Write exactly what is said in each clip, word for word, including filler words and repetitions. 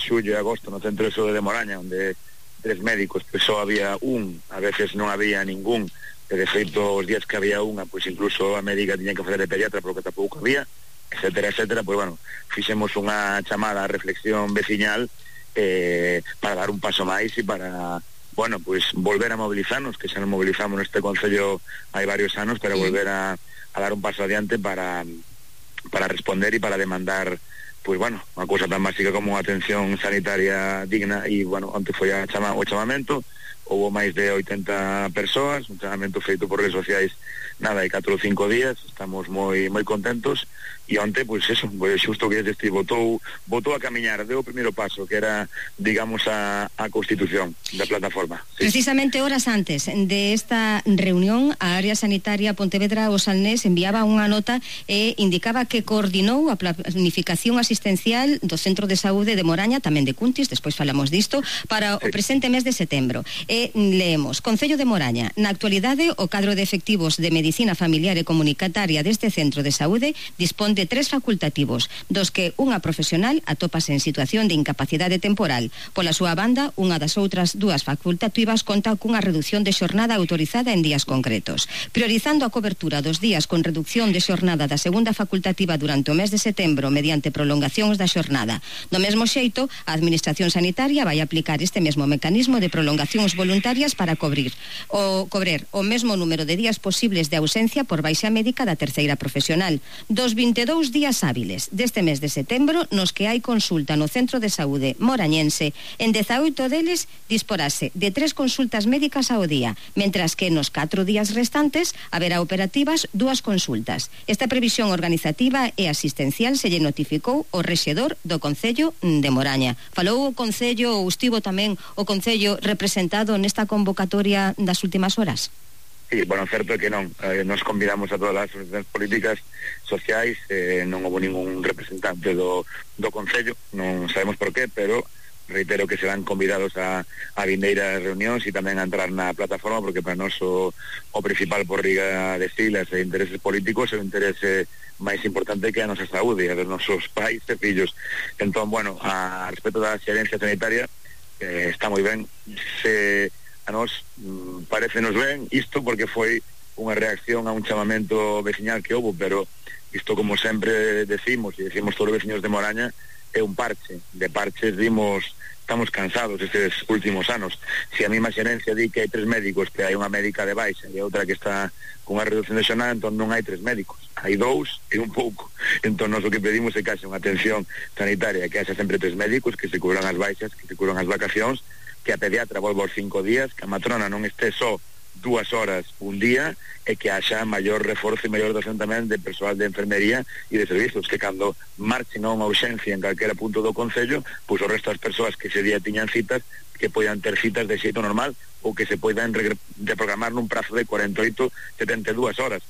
xullo e agosto no Centro de Saúde de Moraña, onde tres médicos, pois só había un, a veces non había ningún, e de feito os días que había unha, pois incluso a médica tiña que facer de pediatra porque tampouco había, etcétera, etcétera. Pois bueno, fixemos unha chamada a reflexión veciñal eh, para dar un paso máis e para, bueno, pois volver a mobilizarnos, que xa nos mobilizamos neste concello hai varios anos, para volver a, a dar un paso adiante para para responder e para demandar, pois bueno, unha cousa tan básica como unha atención sanitaria digna. E bueno, onte foi a chama, o chamamento, houve máis de oitenta persoas, un chamamento feito por redes sociais nada, hai catro ou cinco días, estamos moi moi contentos. E onte, pois eso, pois xusto que este votou votou a camiñar, deu o primeiro paso, que era, digamos, a, a constitución da plataforma. Sí. Precisamente horas antes de esta reunión, a área sanitaria Pontevedra o Salnés enviaba unha nota e indicaba que coordinou a planificación asistencial do Centro de Saúde de Moraña, tamén de Cuntis, despois falamos disto, para sí. o presente mes de setembro. E leemos: Concello de Moraña, na actualidade o cadro de efectivos de Medicina Familiar e Comunitaria deste Centro de Saúde dispón de tres facultativos, dos que unha profesional atópase en situación de incapacidade temporal. Pola súa banda, unha das outras dúas facultativas conta cunha reducción de xornada autorizada en días concretos. Priorizando a cobertura dos días con reducción de xornada da segunda facultativa durante o mes de setembro mediante prolongacións da xornada. Do mesmo xeito, a Administración Sanitaria vai aplicar este mesmo mecanismo de prolongacións voluntarias para cobrir o cobrer o mesmo número de días posibles de ausencia por baixa médica da terceira profesional. Dos vinte e dous días hábiles deste mes de setembro nos que hai consulta no Centro de Saúde morañense, en dezaoito deles disporase de tres consultas médicas ao día, mentras que nos catro días restantes haberá operativas dúas consultas. Esta previsión organizativa e asistencial se lle notificou o rexedor do Concello de Moraña. Falou o Concello, ou estivo tamén o Concello representado nesta convocatoria das últimas horas? Sí, bueno, certo é que non, eh, nos convidamos a todas as asociacións políticas sociais, eh, non houve ningún representante do, do Concello, non sabemos por qué, pero reitero que serán convidados a, a vindeiras reunións e tamén a entrar na plataforma, porque para nós o, o principal por riga de siglas e intereses políticos é o interese máis importante que a nosa saúde, a dos nosos pais e fillos. Entón, bueno, a respecto da xerencia sanitaria, eh, está moi ben, se a nós mm, parecenos ben isto, porque foi unha reacción a un chamamento veciñal que houve, pero isto, como sempre decimos, e decimos todos os veciños de Moraña, é un parche. De parches dimos, estamos cansados estes últimos anos. Se a mesma xerencia di que hai tres médicos, que hai unha médica de baixa e outra que está con unha reducción de xornada, entón non hai tres médicos, hai dous e un pouco. Entón nós o que pedimos é que haxa unha atención sanitaria, que haxa sempre tres médicos, que se cubran as baixas, que se cubran as vacacións, que a pediatra volva aos cinco días, que a matrona non este só dúas horas un día, e que haxa maior reforzo e maior dotación tamén de persoal de enfermería e de servizos, que cando marchen a unha urxencia en calquera punto do Concello, pois o resto das persoas que ese día tiñan citas, que poidan ter citas de xeito normal, ou que se poidan reprogramar nun prazo de cuarenta e oito, setenta e dúas horas.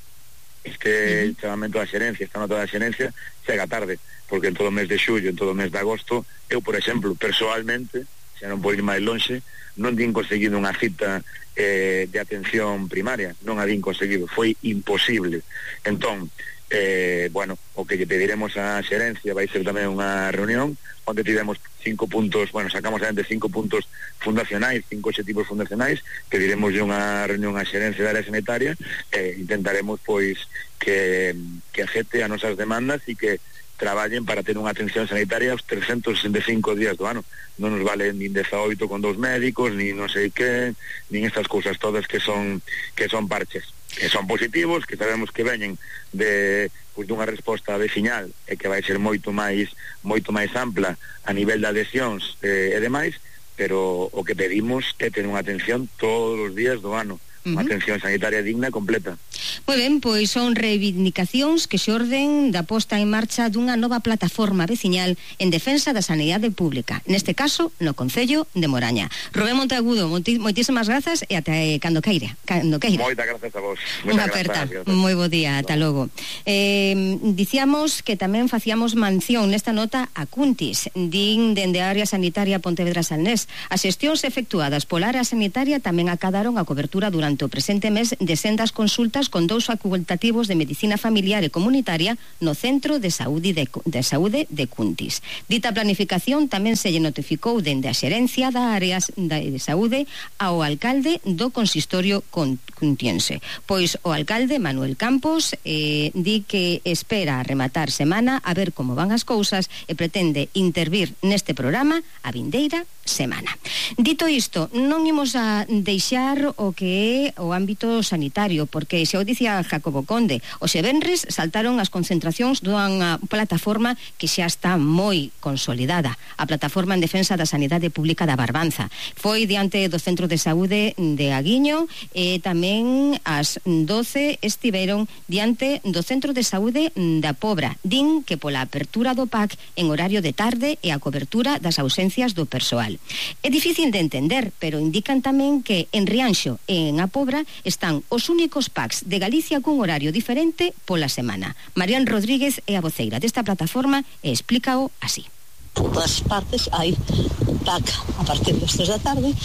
Este uh-huh. chamamento da xerencia, esta nota da xerencia, chega tarde, porque en todo o mes de xullo, en todo o mes de agosto, eu, por exemplo, persoalmente, xa non podo ir máis lonxe, non din conseguido unha cita eh, de atención primaria, non a din conseguido, foi imposible. Entón, eh, bueno, o que lle pediremos á xerencia vai ser tamén unha reunión onde tivemos cinco puntos, bueno, sacamos adiante cinco puntos fundacionais, cinco obxectivos fundacionais, que diremos unha reunión á xerencia da área sanitaria, e eh, intentaremos, pois, que, que acepte as nosas demandas e que traballen para ter unha atención sanitaria aos trescentos sesenta e cinco días do ano. Non nos vale nin dezaoito con dous médicos, nin non sei que, nin estas cousas todas que son que son parches, que son positivos, que sabemos que veñen de, pois, dunha resposta veciñal e que vai ser moito máis moito máis ampla a nivel de adhesións eh, e demais, pero o que pedimos é ter unha atención todos os días do ano, unha uh-huh. atención sanitaria digna e completa. Moi ben, pois son reivindicacións que xorden da posta en marcha dunha nova plataforma veciñal en defensa da sanidade pública, neste caso no Concello de Moraña. Rubén Monteagudo, moitísimas grazas e até cando queira, cando queira. Moitas grazas a vos. Unha aperta, moi bo día, ata logo. Eh, dicíamos que tamén facíamos mención nesta nota a Cuntis, din dende a área sanitaria Pontevedra Salnés. As xestións efectuadas pola área sanitaria tamén acadaron a cobertura durante o presente mes de sendas consultas con dous facultativos de medicina familiar e comunitaria no Centro de Saúde de, de, Saúde de Cuntis. Dita planificación tamén se lle notificou dende a xerencia da área de saúde ao alcalde do consistorio cuntiense. Pois o alcalde Manuel Campos eh, di que espera rematar semana a ver como van as cousas e pretende intervir neste programa a vindeira semana. Dito isto, non imos a deixar o que é o ámbito sanitario, porque xa o dicía Jacobo Conde, hoxe venres saltaron as concentracións dunha plataforma que xa está moi consolidada, a plataforma en defensa da sanidade pública da Barbanza. Foi diante do Centro de Saúde de Aguiño e tamén ás doce estiveron diante do Centro de Saúde da Pobra. Din que pola apertura do P A C en horario de tarde e a cobertura das ausencias do persoal. É difícil de entender, pero indican tamén que en Rianxo e en A Pobra están os únicos P A Cs de Galicia cun horario diferente pola semana. Marián Rodríguez é a voceira desta plataforma e explícao así. Por todas partes hai un P A C a partir das tres da tarde,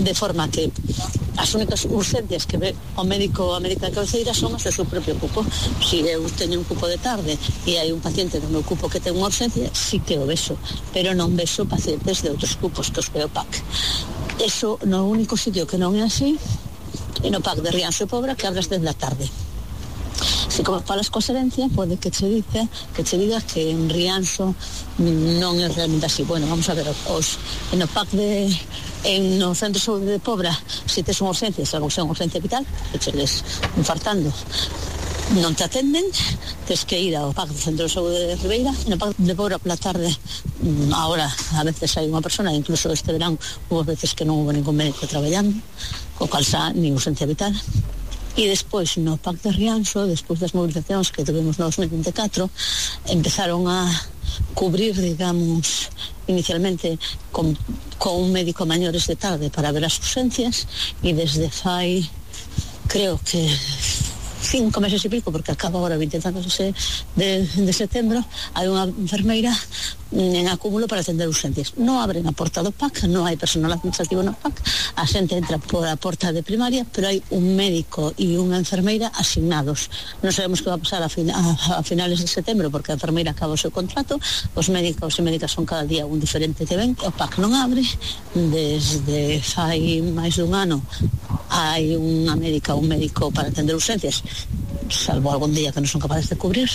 de forma que as únicas urgencias que ve o médico a médica de cabeceira son as do seu propio cupo. Se eu teño un cupo de tarde e hai un paciente do meu cupo que ten unha urgencia, sí que o vexo, pero non vexo pacientes de outros cupos que os ve o P A C. Eso no único sitio que non é así é no P A C de Rianxo e Pobra, que abre as dez da tarde. Se como falas coa xerencia, pode que che dice, que che diga que en Rianxo non é realmente así. Bueno, vamos a ver, os, en o P A C de en no Centro de Saúde de Pobra, se tes unha urgencia, salvo que sea unha urgencia vital, que che les infartando, non te atenden, tes que ir ao P A C do Centro de Saúde de Ribeira. No P A C de Pobra pola tarde, ahora a veces hai unha persona, incluso este verán hubo veces que non hubo ningún médico traballando, co cal xa ni urgencia vital. E despois no P A C de Rianxo, despois das movilizacións que tuvimos no dos mil vinte e catro, empezaron a cubrir, digamos, inicialmente con, con un médico maiores de tarde para ver as urgencias, e desde fai, creo que cinco meses e pico, porque acaba agora vinte e tantos de, de setembro, hai unha enfermeira en acúmulo para atender urgencias. Non abren a porta do P A C, non hai personal administrativo no P A C, a xente entra por a porta de primaria, pero hai un médico e unha enfermeira asignados. Non sabemos que va a pasar a, fin, a, a finales de setembro, porque a enfermeira acaba o seu contrato, os médicos e médicas son cada día un diferente que ven, o P A C non abre, desde fai máis dun ano hai unha médica ou un médico para atender urgencias, salvo algún día que non son capaces de cubrir,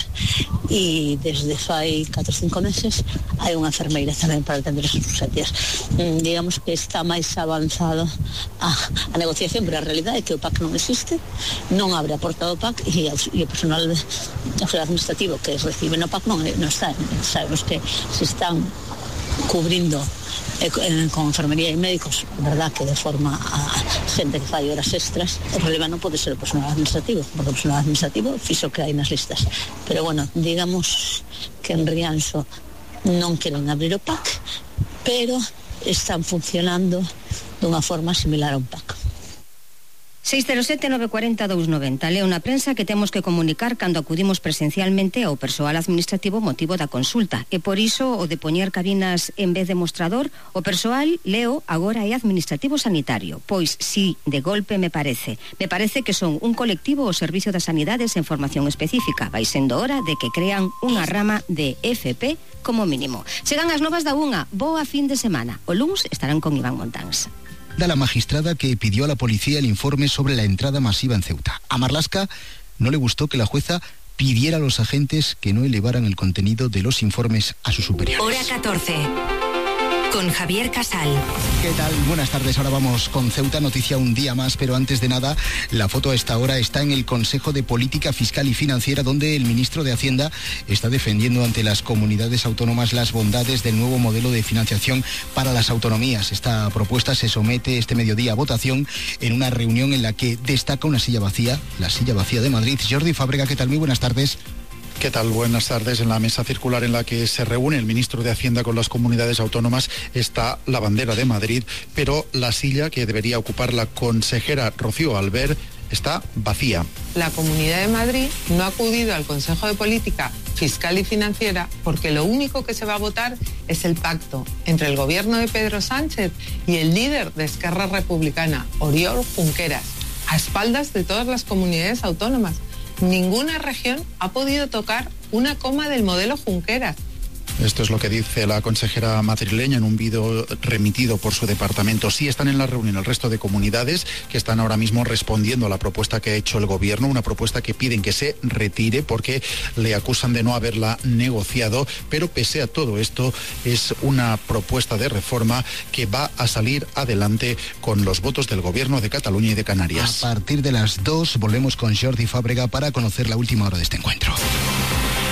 e desde fai catro ou cinco meses hai unha enfermeira tamén para atender as urgencias. Mm, digamos que está máis avanzado a, a negociación, pero a realidade é que o P A C non existe, non abre a porta do P A C, e, e o personal de, administrativo que recibe no P A C non, non está. Sabemos que se están cubrindo eh, con enfermería e médicos, verdad que de forma a xente que fai horas extras. O problema non pode ser o personal administrativo, porque o personal administrativo fixo que hai nas listas, pero bueno, digamos que en Rianxo non queren abrir o P A C, pero están funcionando dunha forma similar a un P A C. seis cero sete nove cuatro cero dous nove cero. Leo na prensa que temos que comunicar cando acudimos presencialmente ao persoal administrativo motivo da consulta, e por iso o de poñer cabinas en vez de mostrador, o persoal, leo, agora é administrativo sanitario. Pois si, de golpe me parece. Me parece que son un colectivo ao servicio das sanidades en formación específica. Vai sendo hora de que crean unha rama de F P como mínimo. Chegan as novas da unha. Boa fin de semana. O luns estarán con Iván Montáns. La magistrada que pidió a la policía el informe sobre la entrada masiva en Ceuta. A Marlaska no le gustó que la jueza pidiera a los agentes que no elevaran el contenido de los informes a sus superiores. Hora catorce. Con Javier Casal. ¿Qué tal? Buenas tardes. Ahora vamos con Ceuta, noticia un día más, pero antes de nada, la foto a esta hora está en el Consejo de Política Fiscal y Financiera, donde el ministro de Hacienda está defendiendo ante las comunidades autónomas las bondades del nuevo modelo de financiación para las autonomías. Esta propuesta se somete este mediodía a votación en una reunión en la que destaca una silla vacía, la silla vacía de Madrid. Jordi Fábrega, ¿qué tal? Muy buenas tardes. ¿Qué tal? Buenas tardes. En la mesa circular en la que se reúne el ministro de Hacienda con las comunidades autónomas está la bandera de Madrid, pero la silla que debería ocupar la consejera Rocío Albert está vacía. La Comunidad de Madrid no ha acudido al Consejo de Política Fiscal y Financiera porque lo único que se va a votar es el pacto entre el gobierno de Pedro Sánchez y el líder de Esquerra Republicana, Oriol Junqueras. a espaldas de todas las comunidades autónomas. Ninguna región ha podido tocar una coma del modelo Junqueras. Esto es lo que dice la consejera madrileña en un vídeo remitido por su departamento. Sí están en la reunión el resto de comunidades que están ahora mismo respondiendo a la propuesta que ha hecho el gobierno, una propuesta que piden que se retire porque le acusan de no haberla negociado, pero pese a todo esto es una propuesta de reforma que va a salir adelante con los votos del gobierno de Cataluña y de Canarias. A partir de las dos volvemos con Jordi Fábrega para conocer la última hora de este encuentro.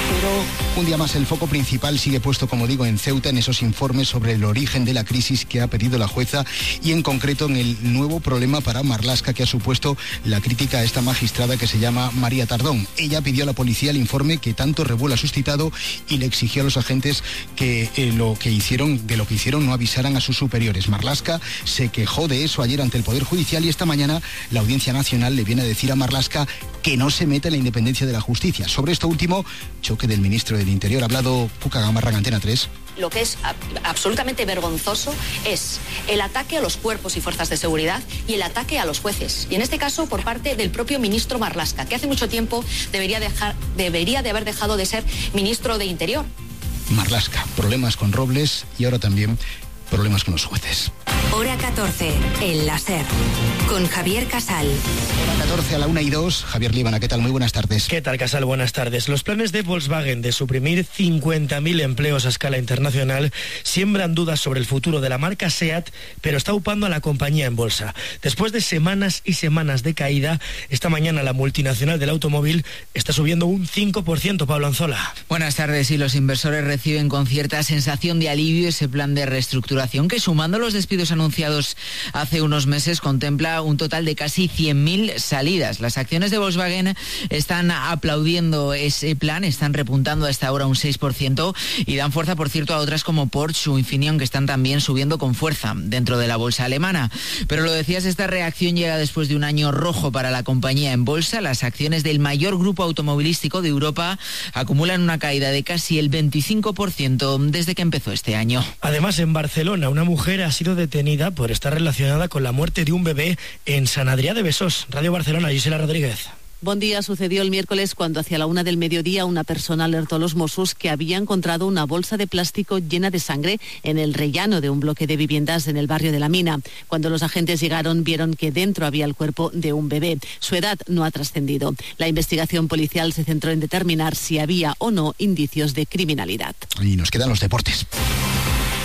Pero un día más el foco principal sigue puesto, como digo, en Ceuta, en esos informes sobre el origen de la crisis que ha pedido la jueza y en concreto en el nuevo problema para Marlaska que ha supuesto la crítica a esta magistrada que se llama María Tardón. Ella pidió a la policía el informe que tanto revuelo ha suscitado y le exigió a los agentes que eh, lo que hicieron, de lo que hicieron no avisaran a sus superiores. Marlaska se quejó de eso ayer ante el Poder Judicial y esta mañana la Audiencia Nacional le viene a decir a Marlaska que no se meta en la independencia de la justicia. Sobre esto último, choque del ministro del Interior. Ha hablado Cuca Gamarra en Antena tres. Lo que es absolutamente vergonzoso es el ataque a los cuerpos y fuerzas de seguridad y el ataque a los jueces. Y en este caso por parte del propio ministro Marlaska, que hace mucho tiempo debería, dejar, debería de haber dejado de ser ministro de Interior. Marlaska, problemas con Robles y ahora también problemas con los jueces. Hora catorce, el láser, con Javier Casal. Hora catorce a la una y dos. Javier Líbana, ¿qué tal? Muy buenas tardes. ¿Qué tal, Casal? Buenas tardes. Los planes de Volkswagen de suprimir cincuenta mil empleos a escala internacional siembran dudas sobre el futuro de la marca SEAT, pero está upando a la compañía en bolsa. Después de semanas y semanas de caída, esta mañana la multinacional del automóvil está subiendo un cinco por ciento, Pablo Anzola. Buenas tardes. Y los inversores reciben con cierta sensación de alivio ese plan de reestructuración que, sumando los despidos anunciados hace unos meses, contempla un total de casi cien mil salidas. Las acciones de Volkswagen están aplaudiendo ese plan, están repuntando a esta hora un seis por ciento y dan fuerza, por cierto, a otras como Porsche o Infineon, que están también subiendo con fuerza dentro de la bolsa alemana. Pero lo decías, esta reacción llega después de un año rojo para la compañía en bolsa. Las acciones del mayor grupo automovilístico de Europa acumulan una caída de casi el veinticinco por ciento desde que empezó este año. Además, en Barcelona, una mujer ha sido detenida por estar relacionada con la muerte de un bebé en San Adrià de Besós. Radio Barcelona, Gisela Rodríguez. Bon día. Sucedió el miércoles cuando hacia la una del mediodía una persona alertó a los Mossos que había encontrado una bolsa de plástico llena de sangre en el rellano de un bloque de viviendas en el barrio de La Mina. Cuando los agentes llegaron, vieron que dentro había el cuerpo de un bebé. Su edad no ha trascendido. La investigación policial se centró en determinar si había o no indicios de criminalidad. Y nos quedan los deportes.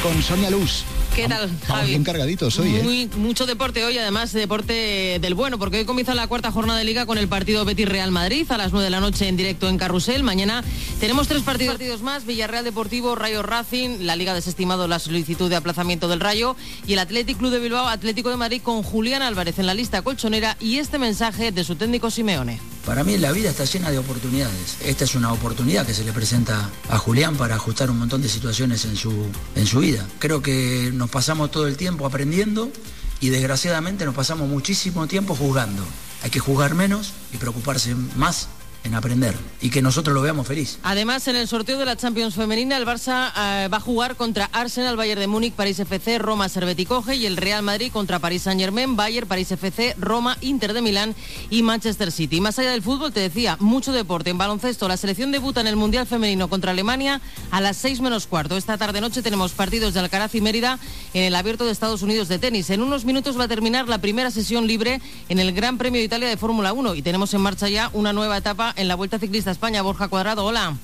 Con Sonia Luz. ¿Qué tal, Javi? Vamos bien cargaditos hoy, ¿eh? Muy, mucho deporte hoy, además deporte del bueno, porque hoy comienza la cuarta jornada de Liga con el partido Betis-Real Madrid a las nueve de la noche en directo en Carrusel. Mañana tenemos tres partidos, partidos más: Villarreal Deportivo, Rayo Racing. La Liga ha desestimado la solicitud de aplazamiento del Rayo, y el Athletic Club de Bilbao, Atlético de Madrid, con Julián Álvarez en la lista colchonera y este mensaje de su técnico Simeone. Para mí la vida está llena de oportunidades. Esta es una oportunidad que se le presenta a Julián para ajustar un montón de situaciones en su, en su vida. Creo que nos pasamos todo el tiempo aprendiendo y desgraciadamente nos pasamos muchísimo tiempo juzgando. Hay que juzgar menos y preocuparse más en aprender y que nosotros lo veamos feliz. Además, en el sorteo de la Champions femenina, el Barça eh, va a jugar contra Arsenal, Bayern de Múnich, París F C, Roma, Servette y Coge, y el Real Madrid contra París Saint-Germain, Bayern, París F C, Roma, Inter de Milán y Manchester City. Más allá del fútbol, te decía, mucho deporte. En baloncesto, la selección debuta en el Mundial Femenino contra Alemania a las seis menos cuarto. Esta tarde-noche tenemos partidos de Alcaraz y Mérida en el Abierto de Estados Unidos de tenis. En unos minutos va a terminar la primera sesión libre en el Gran Premio de Italia de Fórmula uno y tenemos en marcha ya una nueva etapa en la Vuelta Ciclista a España. Borja Cuadrado, hola.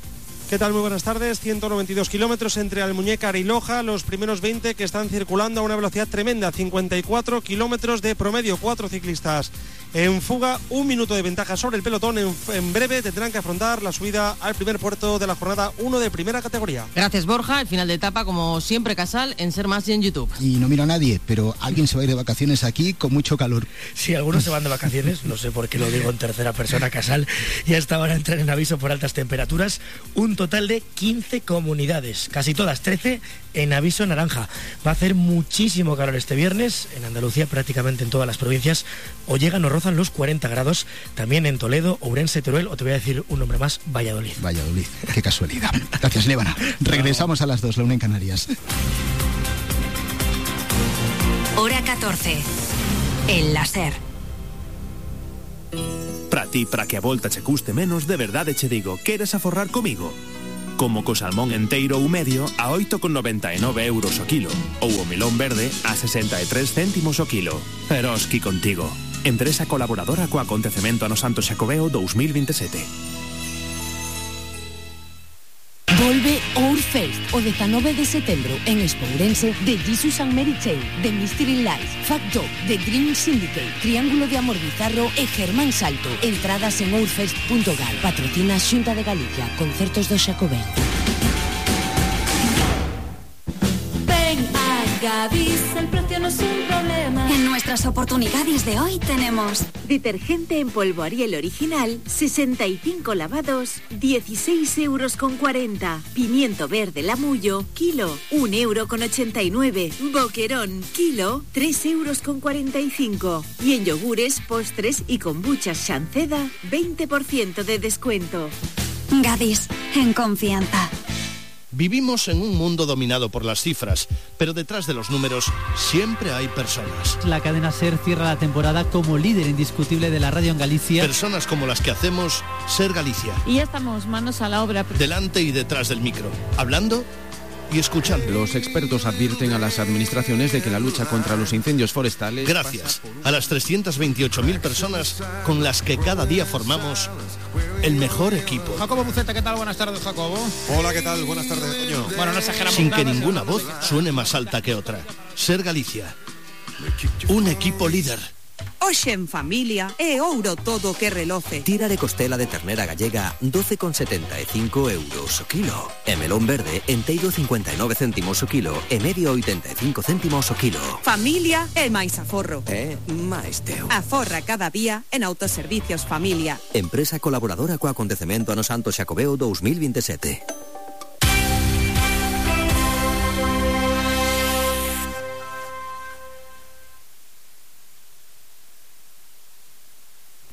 ¿Qué tal? Muy buenas tardes. ciento noventa y dos kilómetros entre Almuñécar y Loja, los primeros veinte que están circulando a una velocidad tremenda, cincuenta y cuatro kilómetros de promedio, cuatro ciclistas en fuga, un minuto de ventaja sobre el pelotón. En, en breve tendrán que afrontar la subida al primer puerto de la jornada uno de primera categoría. Gracias, Borja. El final de etapa, como siempre, Casal, en Ser Más y en YouTube. Y no miro a nadie, pero alguien se va a ir de vacaciones aquí con mucho calor. Sí, algunos se van de vacaciones, no sé por qué lo digo en tercera persona, Casal, y hasta ahora entran en aviso por altas temperaturas. Un total de quince comunidades, casi todas, trece en aviso naranja. Va a hacer muchísimo calor este viernes, en Andalucía, prácticamente en todas las provincias, o llegan o rozan los cuarenta grados, también en Toledo, Ourense, Teruel, o te voy a decir un nombre más, Valladolid. Valladolid, qué casualidad. Gracias, Lébana. Regresamos a las dos, la una en Canarias. Hora catorce, el láser. Para ti, para que a volta che custe menos, de verdade che digo, queres aforrar comigo? Como co salmón enteiro ou medio a oito con noventa e nove euros o kilo, ou o melón verde a sesenta e tres céntimos o kilo. Eroski contigo. Empresa colaboradora co acontecemento ano Santo Xacobeo dous mil veintisiete. Volve Ourfest o dezanove de setembro en Espourense de Jesus and Mary Chain, The Mystery Lights, Fact Dog, The Dream Syndicate, Triángulo de Amor Bizarro e Germán Salto. Entradas en ourfest punto gal. Patrocina Xunta de Galicia, Concertos do Xacobeo. Ven a Gadis, el precio no es un problema. En nuestras oportunidades de hoy tenemos detergente en polvo Ariel original, sesenta y cinco lavados, dieciséis euros con cuarenta. Pimiento verde Lamullo, kilo, un euro con ochenta y nueve. Boquerón, kilo, tres euros con cuarenta y cinco. Y en yogures, postres y kombuchas Shanceda, veinte por ciento de descuento. Gadis, en confianza. Vivimos en un mundo dominado por las cifras, pero detrás de los números siempre hay personas. La cadena SER cierra la temporada como líder indiscutible de la radio en Galicia. Personas como las que hacemos SER Galicia. Y ya estamos manos a la obra. Delante y detrás del micro, hablando y escuchando. Los expertos advierten a las administraciones de que la lucha contra los incendios forestales... Gracias a las trescientas veintiocho mil personas con las que cada día formamos el mejor equipo. Jacobo Buceta, ¿qué tal? Buenas tardes, Jacobo. Hola, ¿qué tal? Buenas tardes, Toño. Bueno, no exageramos. Sin que ninguna voz suene más alta que otra. SER Galicia. Un equipo líder. Hoxe en familia é ouro todo que reloce. Tira de costela de ternera gallega doce con setenta e cinco euros o kilo. E melón verde enteiro cincuenta e nove céntimos o kilo e medio oitenta e cinco céntimos o kilo. Familia é máis aforro. É máis teu. Aforra cada día en Autoservicios Familia. Empresa colaboradora co acontecemento ano Santo Xacobeo dous mil veintisiete.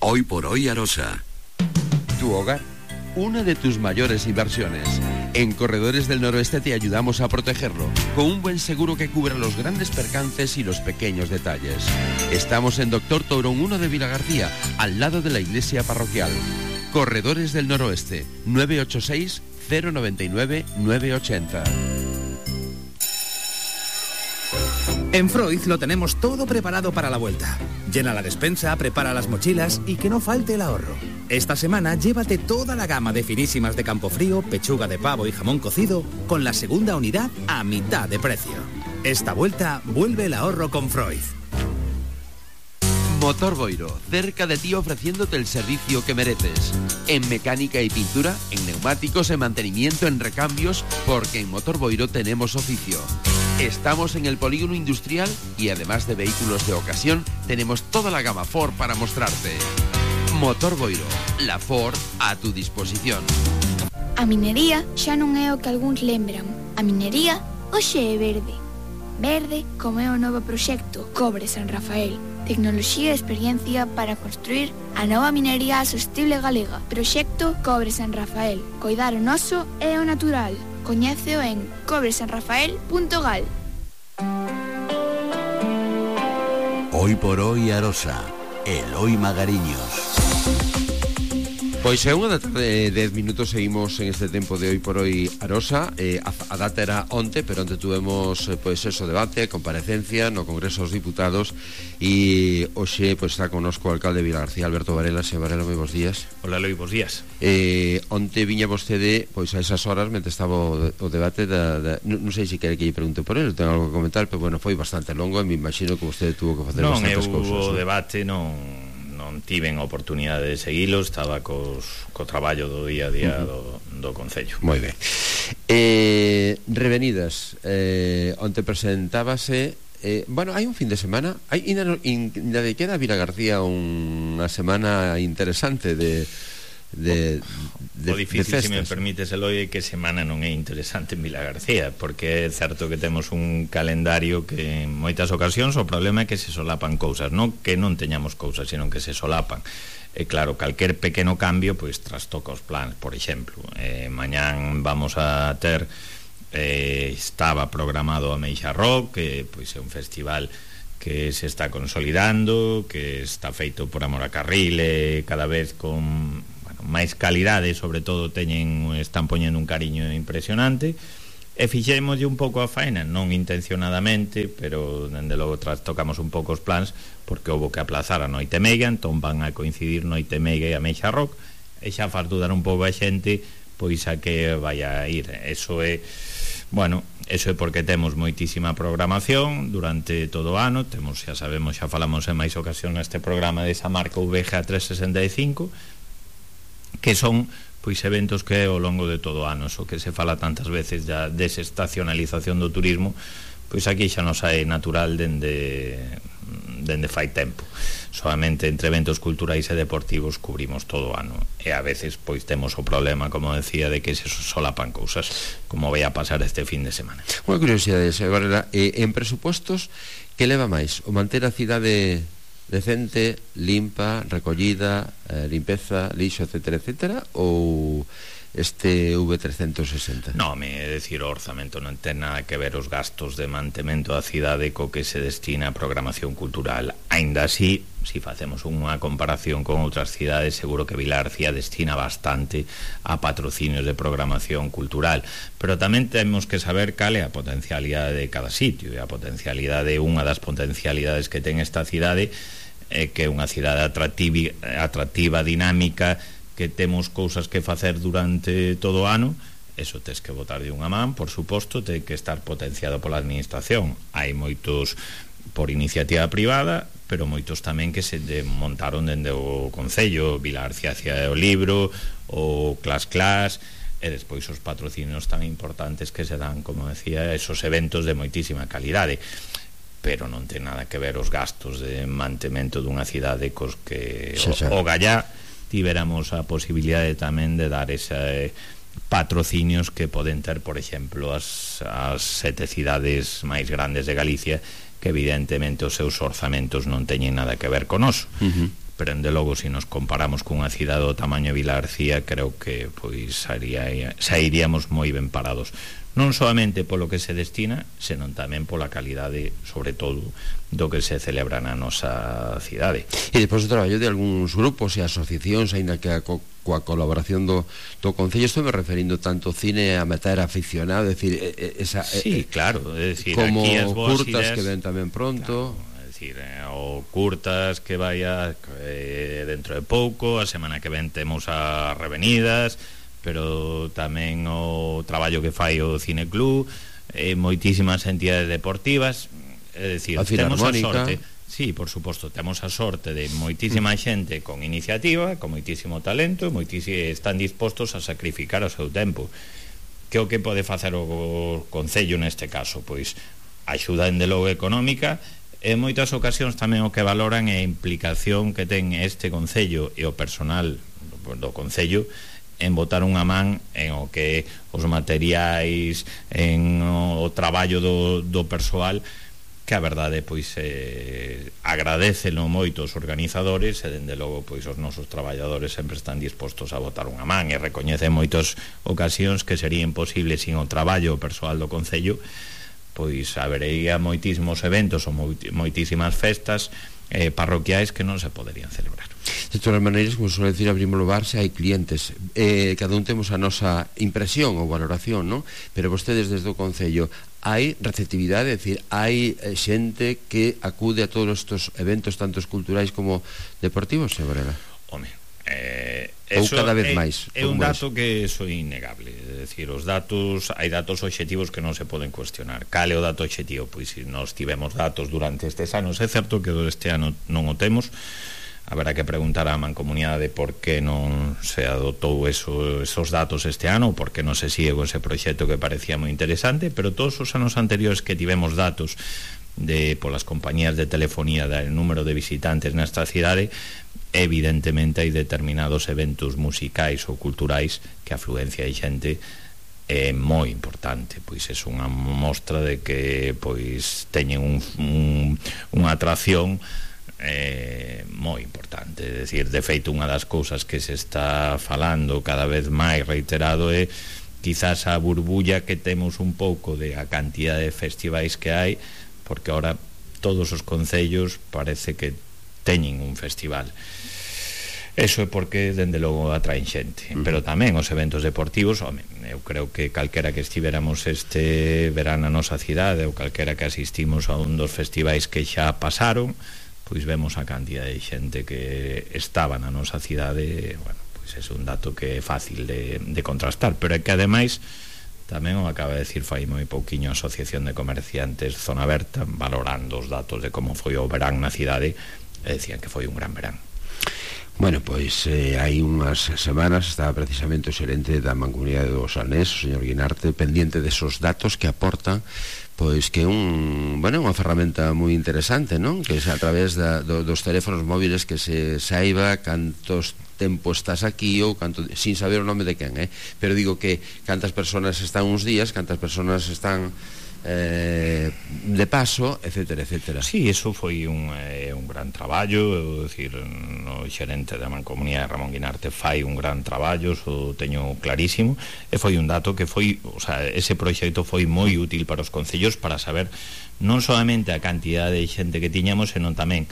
Hoy por hoy Arosa. Tu hogar, una de tus mayores inversiones. En Corredores del Noroeste te ayudamos a protegerlo, con un buen seguro que cubra los grandes percances y los pequeños detalles. Estamos en Doctor Tourón uno de Vilagarcía, al lado de la iglesia parroquial. Corredores del Noroeste, nueve ocho seis, cero nueve nueve, nueve ocho cero. En Freud lo tenemos todo preparado para la vuelta. Llena la despensa, prepara las mochilas y que no falte el ahorro. Esta semana llévate toda la gama de finísimas de Campofrío, pechuga de pavo y jamón cocido con la segunda unidad a mitad de precio. Esta vuelta vuelve el ahorro con Freud. Motor Boiro, cerca de ti ofreciéndote el servicio que mereces. En mecánica y pintura, en neumáticos, en mantenimiento, en recambios, porque en Motor Boiro tenemos oficio. Estamos en el polígono industrial y además de vehículos de ocasión, tenemos toda la gama Ford para mostrarte. Motor Boiro, la Ford a tu disposición. A minería xa non é o que algúns lembran. A minería hoxe é verde. Verde como é o novo proxecto Cobre San Rafael. Tecnoloxía e experiencia para construir a nova minería sostible galega. Proxecto Cobre San Rafael. Coidar o noso e o natural. Coñéceo en cobre san rafael punto gal. Hoy por hoy Arosa, Eloi Magariños. Pois é unha da tarde, dez minutos, seguimos en este tempo de Hoy por Hoy Arosa. eh, a, a data era onte, pero onte tuvemos eh, pois eso, debate, comparecencia no Congreso dos Diputados e hoxe pois está connosco o alcalde de Vilagarcía, Alberto Varela. Señor Varela, moi bons días. Hola, Eloi, bons días. eh, Onte viña vostede pois a esas horas, mentre estaba o, o debate da, da, non, non sei se quere que lle pregunte por ele, tengo algo que comentar, pero bueno, foi bastante longo e me imagino que vostede tuvo que facer non, bastantes eu, cousas. Non, non? o debate non non tiven a oportunidade de seguilo, estaba cos, co traballo do día a día uh-huh. do, do Concello. Moi ben. Eh, revenidas, eh, onte presentábase, eh, bueno, hai un fin de semana, hai ainda de queda a Vilagarcía unha semana interesante de de, de, o difícil, de se me permites, Eloi, que semana non é interesante en Vilagarcía, porque é certo que temos un calendario que en moitas ocasións o problema é que se solapan cousas, non que non teñamos cousas, senón que se solapan. E claro, calquer pequeno cambio pois trastoca os plans. Por exemplo, eh, mañán vamos a ter eh, estaba programado a Meixa Rock, que pois é un festival que se está consolidando, que está feito por amor a carril, e cada vez con, bueno, máis calidade, sobre todo teñen, están poñendo un cariño impresionante, e fixémoslle un pouco a faena, non intencionadamente, pero dende logo trastocamos un pouco os plans, porque houbo que aplazar a Noite Meiga, entón van a coincidir Noite Meiga e a Meixa Rock, e xa faz dudar un pouco a xente pois a que vai a ir. Eso é, bueno, eso é porque temos moitísima programación durante todo o ano, temos, xa sabemos, xa falamos en máis ocasión neste programa desa marca V G A trescentos sesenta e cinco, que son pois eventos que ao longo de todo o ano, o que se fala tantas veces da desestacionalización do turismo, pois aquí xa nos é natural dende dende fai tempo. Solamente entre eventos culturais e deportivos cubrimos todo o ano, e a veces pois temos o problema, como decía, de que se solapan cousas, como vai a pasar este fin de semana. Unha curiosidade, agora, eh, en presupostos, que leva máis? O manter a cidade decente, limpa, recollida, eh, limpeza, lixo, etcétera, etcétera, ou este V trescentos sesenta? Non, é dicir, o orzamento non ten nada que ver os gastos de mantemento da cidade co que se destina a programación cultural. Aínda así, se facemos unha comparación con outras cidades, seguro que Vilarcía destina bastante a patrocinios de programación cultural, pero tamén temos que saber cal é a potencialidade de cada sitio, e a potencialidade, unha das potencialidades que ten esta cidade é que é unha cidade atractiva, atractiva, dinámica, que temos cousas que facer durante todo o ano. Eso tes que botar de unha man, por suposto, ten que estar potenciado pola administración. Hai moitos por iniciativa privada, pero moitos tamén que se montaron dende o Concello, Vilarcía Cia o Libro, o Clas Clas, e despois os patrocinios tan importantes que se dan, como decía, esos eventos de moitísima calidade, pero non ten nada que ver os gastos de mantemento dunha cidade cos que xa, xa. o, o Gallá tiveramos a posibilidade tamén de dar ese patrocinios que poden ter, por exemplo, as, as sete cidades máis grandes de Galicia, que evidentemente os seus orzamentos non teñen nada que ver con oso. Uh-huh. Pero, ende logo, se nos comparamos cunha cidade do tamaño de Vilarcía, creo que pois xa iríamos moi ben parados, non solamente polo que se destina, senón tamén pola calidade, sobre todo, do que se celebra na nosa cidade. E despois o traballo de algúns grupos e asociacións, aínda que a co, coa colaboración do, do Concello, estou me referindo tanto cine a meter aficionado, é dicir, esa, sí, claro, é dicir, como aquí as boas curtas ideas, que ven tamén pronto, claro, é dicir, o curtas que vaya eh, dentro de pouco, a semana que ven temos a Revenidas, pero tamén o traballo que fai o Cineclub, eh, moitísimas entidades deportivas, é dicir, temos a sorte, sí, por suposto, temos a sorte de moitísima xente con iniciativa, con moitísimo talento, moitísimo, están dispostos a sacrificar o seu tempo. Que o que pode facer o Concello neste caso? Pois axuda dende logo económica, e en moitas ocasións tamén o que valoran é a implicación que ten este Concello e o personal do Concello en botar unha man en o que os materiais, en o traballo do, do persoal, que a verdade pois eh, agradecelo moito os organizadores, e dende logo pois os nosos traballadores sempre están dispostos a botar unha man, e recoñecen moitas ocasións que sería imposible sin o traballo persoal do Concello, pois habería moitísimos eventos ou moitísimas festas eh, parroquiais que non se poderían celebrar. De todas maneiras, como suele decir, abrimos o bar se hai clientes, eh, cada un temos a nosa impresión ou valoración, non? Pero vostedes desde o Concello hai receptividade, é dicir, hai xente que acude a todos estes eventos, tanto culturais como deportivos, señor Varela? Home, eh, ou cada vez é, máis? É un dato es? que é innegable, é dicir, os datos, hai datos obxectivos que non se poden cuestionar. Cal é o dato obxectivo? Pois se nós tivemos datos durante estes anos, é certo que este ano non o temos, haberá que preguntar á mancomunidade por que non se adotou eso, esos datos este ano, ou por que non se sigue con ese proxecto que parecía moi interesante, pero todos os anos anteriores que tivemos datos de polas compañías de telefonía del número de visitantes nesta cidade, evidentemente hai determinados eventos musicais ou culturais que a afluencia de xente é moi importante, pois é unha mostra de que pois teñen un, un, unha atracción eh, moi importante. É dicir, de feito, unha das cousas que se está falando cada vez máis reiterado é quizás a burbulla que temos un pouco de a cantidad de festivais que hai, porque ahora todos os concellos parece que teñen un festival. Eso é porque, dende logo, atraen xente. Uh-huh. Pero tamén os eventos deportivos, home, eu creo que calquera que estivéramos este verán na nosa cidade, ou calquera que asistimos a un dos festivais que xa pasaron, pois vemos a cantidad de xente que estaba na nosa cidade. Bueno, pois é un dato que é fácil de, de contrastar, pero é que ademais tamén o acaba de decir fai moi pouquiño a Asociación de Comerciantes Zona Berta, valorando os datos de como foi o verán na cidade, e decían que foi un gran verán. Bueno, pois eh, hai unhas semanas estaba precisamente o xerente da Mancomunidade do Salnés, o señor Guinarte, pendiente desos datos que aportan, pois que un, bueno, unha ferramenta moi interesante, non? Que é a través da, do, dos teléfonos móviles que se saiba cantos tempo estás aquí ou canto, sin saber o nome de quen, eh? Pero digo que cantas persoas están uns días, cantas persoas están Eh, de paso, etcétera, etcétera. Sí, eso foi un, eh, un gran traballo, é dicir, no xerente da Mancomunidade Ramón Guinarte fai un gran traballo, so teño clarísimo, e foi un dato que foi, o sea, ese proxecto foi moi útil para os concellos para saber non solamente a cantidade de xente que tiñamos, senón tamén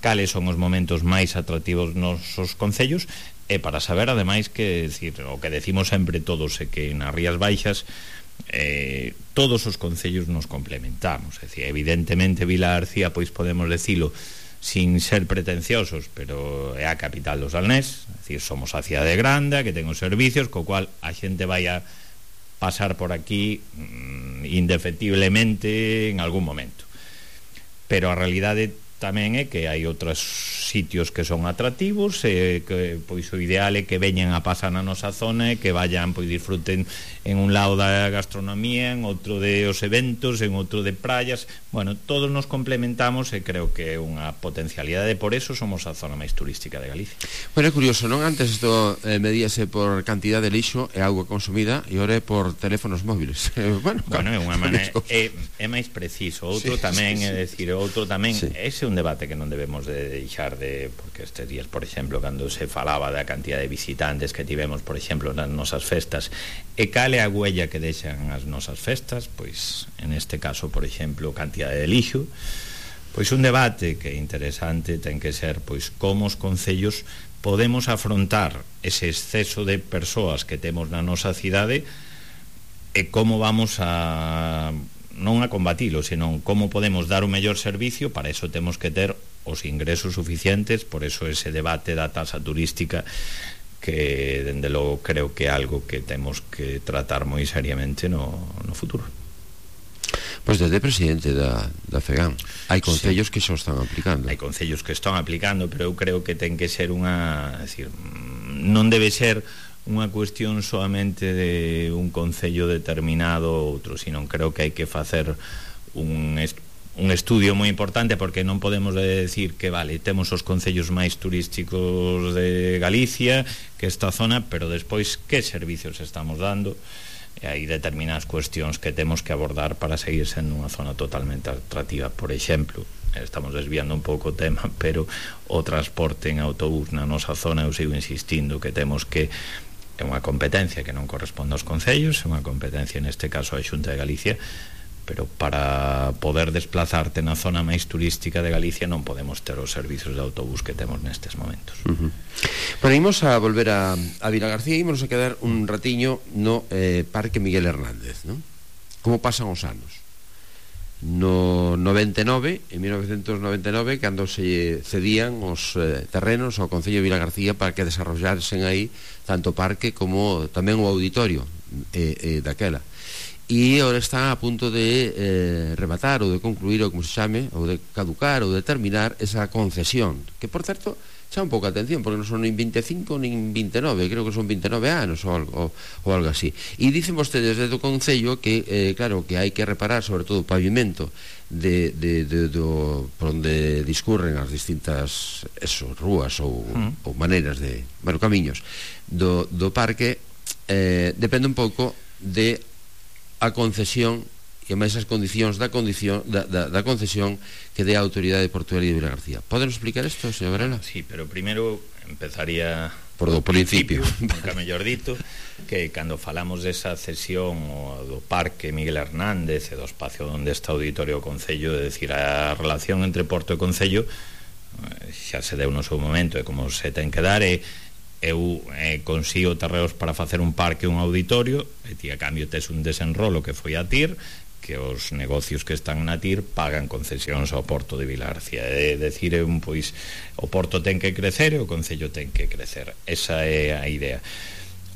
cales son os momentos máis atractivos nos os concellos, e para saber ademais que, decir, o que decimos sempre todos é que nas Rías Baixas Eh, todos os concellos nos complementamos, é dicir, evidentemente Vila García, pois podemos decilo sin ser pretenciosos, pero é a capital do Salnés, é dicir, somos a cidade grande que ten os servicios, co cual a xente vai a pasar por aquí mm, indefectiblemente en algún momento, pero a realidade tamén é que hai outros sitios que son atractivos, e que pois o ideal é que veñan a pasar na nosa zona e que vayan, pois disfruten en un lado da gastronomía, en outro de os eventos, en outro de praias. Bueno, todos nos complementamos e creo que é unha potencialidade, por eso somos a zona máis turística de Galicia. Bueno, é curioso, non? Antes isto eh, medíase por cantidad de lixo e auga consumida, e ora é por teléfonos móviles. bueno, bueno, é unha maneira, é, é máis preciso. Outro sí, tamén, sí, sí. é dicir, outro tamén, sí. Ese é un debate que non debemos de deixar de, porque estes días, por exemplo, cando se falaba da cantidad de visitantes que tivemos, por exemplo, nas nosas festas, e cal é a huella que deixan as nosas festas, pois, en este caso, por exemplo, cantidad de lixo, pois un debate que é interesante ten que ser, pois, como os concellos podemos afrontar ese exceso de persoas que temos na nosa cidade e como vamos a non a combatilo, senón como podemos dar o mellor servicio. Para eso temos que ter os ingresos suficientes, por eso ese debate da tasa turística que, dende logo, creo que é algo que temos que tratar moi seriamente no, no futuro. Pois desde presidente da, da FEGAM hai concellos sí. que xa están aplicando. Hai concellos que están aplicando, pero eu creo que ten que ser unha, é dicir, non debe ser unha cuestión solamente de un concello determinado ou outro, sino creo que hai que facer un, est un estudio moi importante, porque non podemos decir que, vale, temos os concellos máis turísticos de Galicia, que esta zona, pero despois que servicios estamos dando, e hai determinadas cuestións que temos que abordar para seguir sendo unha zona totalmente atractiva. Por exemplo, estamos desviando un pouco o tema, pero o transporte en autobús na nosa zona, eu sigo insistindo que temos que, é unha competencia que non corresponde aos concellos, é unha competencia neste caso a Xunta de Galicia, pero para poder desplazarte na zona máis turística de Galicia non podemos ter os servizos de autobús que temos nestes momentos. Uh-huh. Bueno, imos a volver a, a Vilagarcía e imos a quedar un ratiño no eh, Parque Miguel Hernández, non? Como pasan os anos? No noventa e nove, en mil novecentos noventa e nove, cando se cedían os eh, terrenos ao Concello de Vilagarcía para que desarrollasen aí tanto o parque como tamén o auditorio eh, eh, daquela, e agora están a punto de eh, rematar ou de concluir, ou como se chame, ou de caducar ou de terminar esa concesión, que por certo xa un pouco atención, porque non son nin vinte e cinco nin vinte e nove, creo que son vinte e nove anos ou algo, ou algo así. E dicen vostedes desde o Concello que, eh, claro, que hai que reparar sobre todo o pavimento de, de, de, do, por onde discurren as distintas eso, rúas ou, mm. ou maneiras de, bueno, camiños do, do parque, eh, depende un pouco de a concesión e máis as condicións da, condición, da, da, da concesión que dé a Autoridade Portuaria de Vilagarcía. Poden explicar isto, señor Varela? Sí, pero primeiro empezaría por do principio, nunca mellor dito, que cando falamos desa cesión do Parque Miguel Hernández e do espacio onde está o Auditorio do Concello, é dicir, a relación entre Porto e Concello xa se deu no seu momento e como se ten que dar é eu eh, consigo terreos para facer un parque, un auditorio, e ti a cambio tes un desenrolo que foi a TIR, que os negocios que están na TIR pagan concesións ao Porto de Vilagarcía. É decir, un, pois, o Porto ten que crecer e o Concello ten que crecer. Esa é a idea.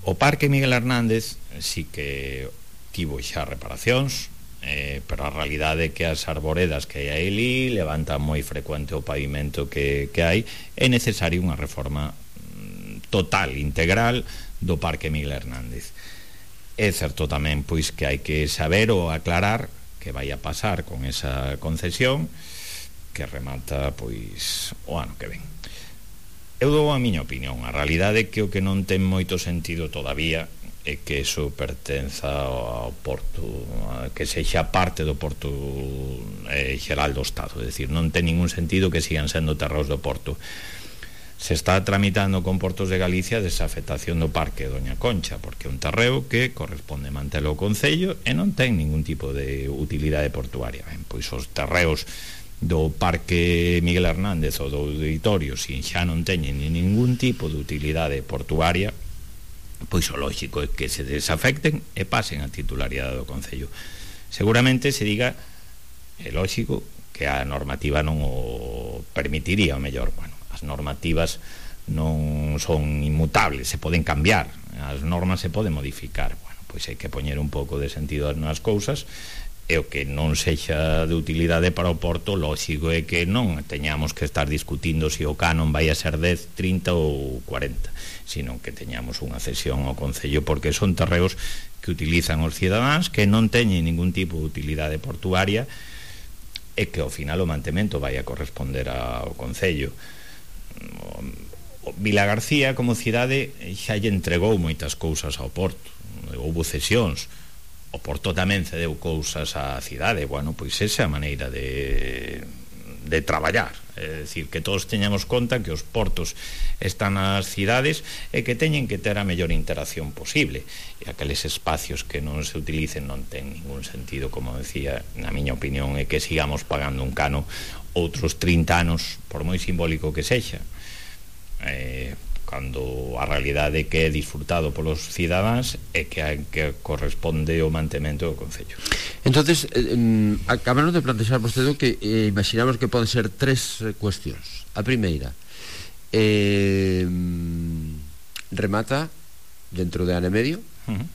O Parque Miguel Hernández sí que tivo xa reparacións, eh, pero a realidade é que as arboredas que hai ali levantan moi frecuente o pavimento que, que hai. É necesaria unha reforma total, integral do Parque Miguel Hernández. É certo tamén pois que hai que saber ou aclarar que vai a pasar con esa concesión que remata pois o ano que ven. Eu dou a miña opinión. A realidade é que o que non ten moito sentido todavía é que iso pertenza ao Porto, que sexa parte do Porto eh, xeral do Estado. É dicir, non ten ningún sentido que sigan sendo terreos do Porto. Se está tramitando con Portos de Galicia desafectación do Parque Doña Concha, porque é un terreo que corresponde mantelo ao Concello e non ten ningún tipo de utilidade portuaria. Ben, pois os terreos do Parque Miguel Hernández ou do Auditorio, se xa non teñen ningún tipo de utilidade portuaria, pois o lógico é que se desafecten e pasen a titularidade do Concello. Seguramente se diga, é lógico, que a normativa non o permitiría, o mellor, bueno, as normativas non son inmutables, se poden cambiar, as normas se poden modificar. Bueno, pois hai que poñer un pouco de sentido nas cousas, e o que non sexa de utilidade para o Porto, lógico é que non teñamos que estar discutindo se o canon vai a ser dez, trinta ou cuarenta, sino que teñamos unha cesión ao Concello, porque son terreos que utilizan os cidadáns, que non teñen ningún tipo de utilidade portuaria, e que ao final o mantemento vai a corresponder ao Concello. Vilagarcía como cidade xa lle entregou moitas cousas ao Porto, houbo cesións, o Porto tamén cedeu cousas á cidade. Bueno, pois esa é a maneira de, de traballar, é dicir, que todos teñamos conta que os portos están nas cidades e que teñen que ter a mellor interacción posible, e aqueles espacios que non se utilicen non ten ningún sentido, como decía, na miña opinión, é que sigamos pagando un cano outros trinta anos, por moi simbólico que sexa, eh, cando a realidade que é disfrutado polos cidadáns é que, que corresponde o mantemento do Concello. Entonces, eh, acabaron de plantexar vostede que eh, imaginamos que poden ser tres eh, cuestións. A primeira, eh, remata dentro de ano e medio. Uh-huh.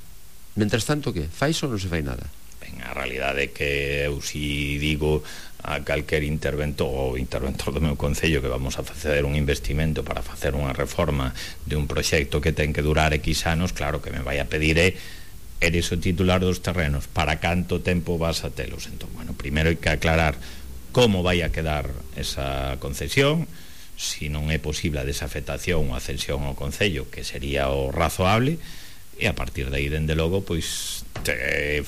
Mentras tanto, que? Fais ou non se fai nada? Ben, a realidade é que eu si digo a calquer interventor ou interventor do meu Concello que vamos a facer un investimento para facer unha reforma de un proxecto que ten que durar X anos, claro que me vai a pedir é eres o titular dos terrenos, para canto tempo vas a telos. Entón, bueno, primeiro hai que aclarar como vai a quedar esa concesión, se non é posible a desafectación ou a cesión ao Concello, que sería o razoable, e a partir de aí, dende logo, pois te,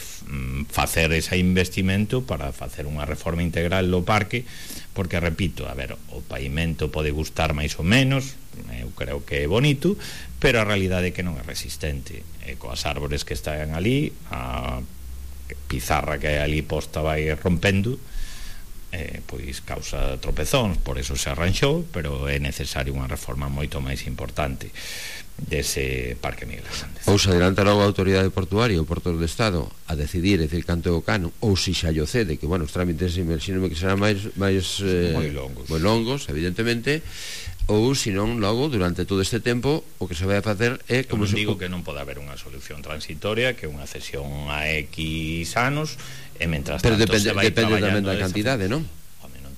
facer ese investimento para facer unha reforma integral do parque, porque, repito, a ver, o pavimento pode gustar máis ou menos, eu creo que é bonito, pero a realidade é que non é resistente, e coas árbores que están ali, a pizarra que hai ali posta vai rompendo, eh, pois causa tropezóns, por eso se arranxou, pero é necesario unha reforma moito máis importante dese Parque Miguel Hernández. Ou se adelanta logo a autoridade portuaria, o Porto do Estado, a decidir, é dicir, canto o cano, ou se xa lle cede, que, bueno, os trámites imagínome que serán máis, máis eh, moi longos, moi longos, evidentemente, ou, se non, logo, durante todo este tempo, o que se vai a facer é... como non digo que non pode haber unha solución transitoria, que unha cesión a X anos, e mentras pero tanto depende, se vai depende tamén da esa cantidade, non?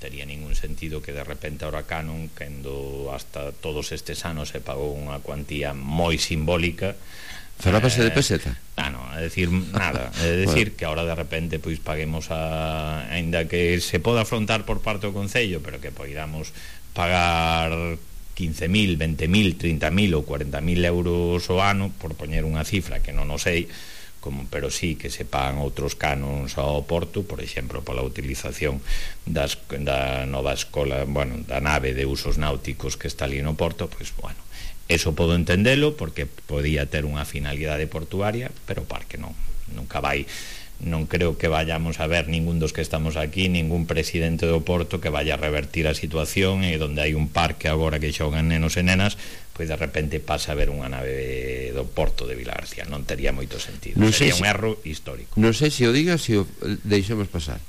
Tería ningún sentido que de repente ahora canon, cando hasta todos estes anos se pagou unha cuantía moi simbólica, falábase eh, de peseta? Ah, no, é dicir, nada, é dicir bueno, que ahora de repente pois paguemos a, ainda que se poda afrontar por parte do Concello, pero que poidamos pagar quince mil, vinte mil, trinta mil ou cuarenta mil euros ao ano, por poñer unha cifra que non o sei, como, pero sí que se pagan outros canons ao Porto, por exemplo, pola utilización das, da nova escola, bueno, da nave de usos náuticos que está ali no Porto, pois, bueno, Eso podo entendelo porque podía ter unha finalidade portuaria, pero o parque non, nunca vai. Non creo que vayamos a ver ningún dos que estamos aquí, ningún presidente do Porto que vaya a revertir a situación, e donde hai un parque agora que xogan nenos e nenas, pois de repente pasa a ver unha nave do Porto de Vilagarcía. Non tería moito sentido, non sería un erro histórico. Non sei se o diga, se o deixemos pasar,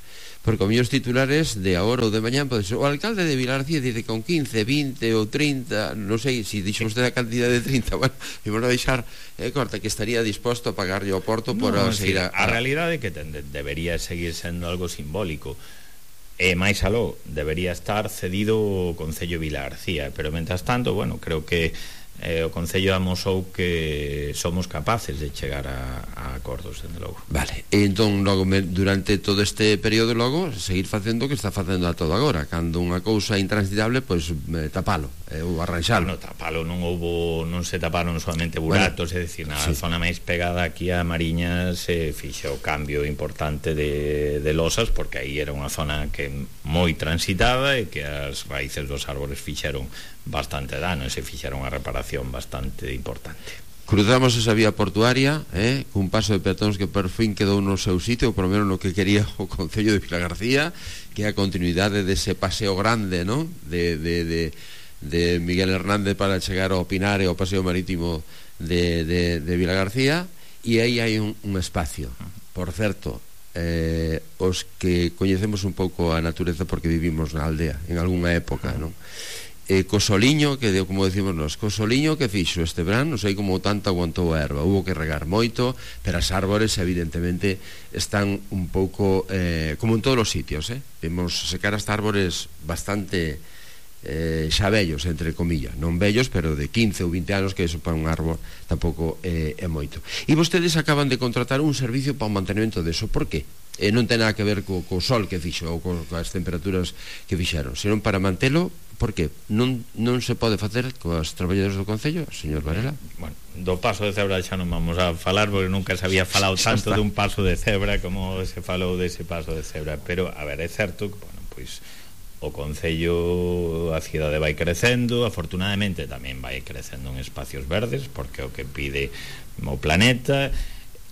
porque os meus titulares de agora ou de mañán pode ser: o alcalde de Vilagarcía dice que con quince, vinte ou trinta, non sei se dixo usted a cantidad de trinta, bueno, vamos a deixar eh, corta, que estaría disposto a pagarlle ao Porto por no, seguir a, a... a realidade é que ten, debería seguir sendo algo simbólico, e máis aló debería estar cedido o Concello de Vilagarcía, pero mentras tanto, bueno, creo que eh, o Concello amosou que somos capaces de chegar a, a acordos, dende logo. Vale, e entón logo durante todo este período logo seguir facendo o que está facendo a todo agora, cando unha cousa intransitable, pois eh, tapalo eh, ou arranxalo. No, tapalo, non houbo, non se taparon solamente buratos, bueno, é dicir, na sí. zona máis pegada aquí a Mariña se fixo o cambio importante de, de losas, porque aí era unha zona que moi transitada e que as raíces dos árbores fixeron bastante dano e se fixeron a reparación bastante importante. Cruzamos esa vía portuaria eh, cun paso de peatóns que por fin quedou no seu sitio, por lo menos no que quería o Concello de Vilagarcía, que é a continuidade dese paseo grande, ¿no? de, de, de, de Miguel Hernández para chegar ao Pinar e ao paseo marítimo de, de, de Vilagarcía, e aí hai un, un espacio. Por certo, eh, os que coñecemos un pouco a natureza porque vivimos na aldea en algunha época, non? E co soliño, que como decimos nós, co soliño que fixo este verán, non sei como tanto aguantou a erva, hubo que regar moito, pero as árbores evidentemente están un pouco eh, como en todos os sitios, eh? Vemos secar as árbores bastante eh, xa vellos, entre comillas, non vellos, pero de quince ou vinte anos, que eso para un árbol tampouco eh, é moito. E vostedes acaban de contratar un servicio para o mantenimento deso, por qué? E non ten nada que ver co, co sol que fixo ou co, coas temperaturas que fixeron, senón para mantelo. Por que? Non, non se pode facer coas traballadores do Concello, señor Varela? Bueno, do paso de cebra xa non vamos a falar, porque nunca se había falado tanto dun paso de cebra como se falou dese paso de cebra, pero, a ver, é certo que, bueno, pois o Concello, a cidade vai crecendo, afortunadamente tamén vai crecendo en espacios verdes, porque é o que pide o planeta.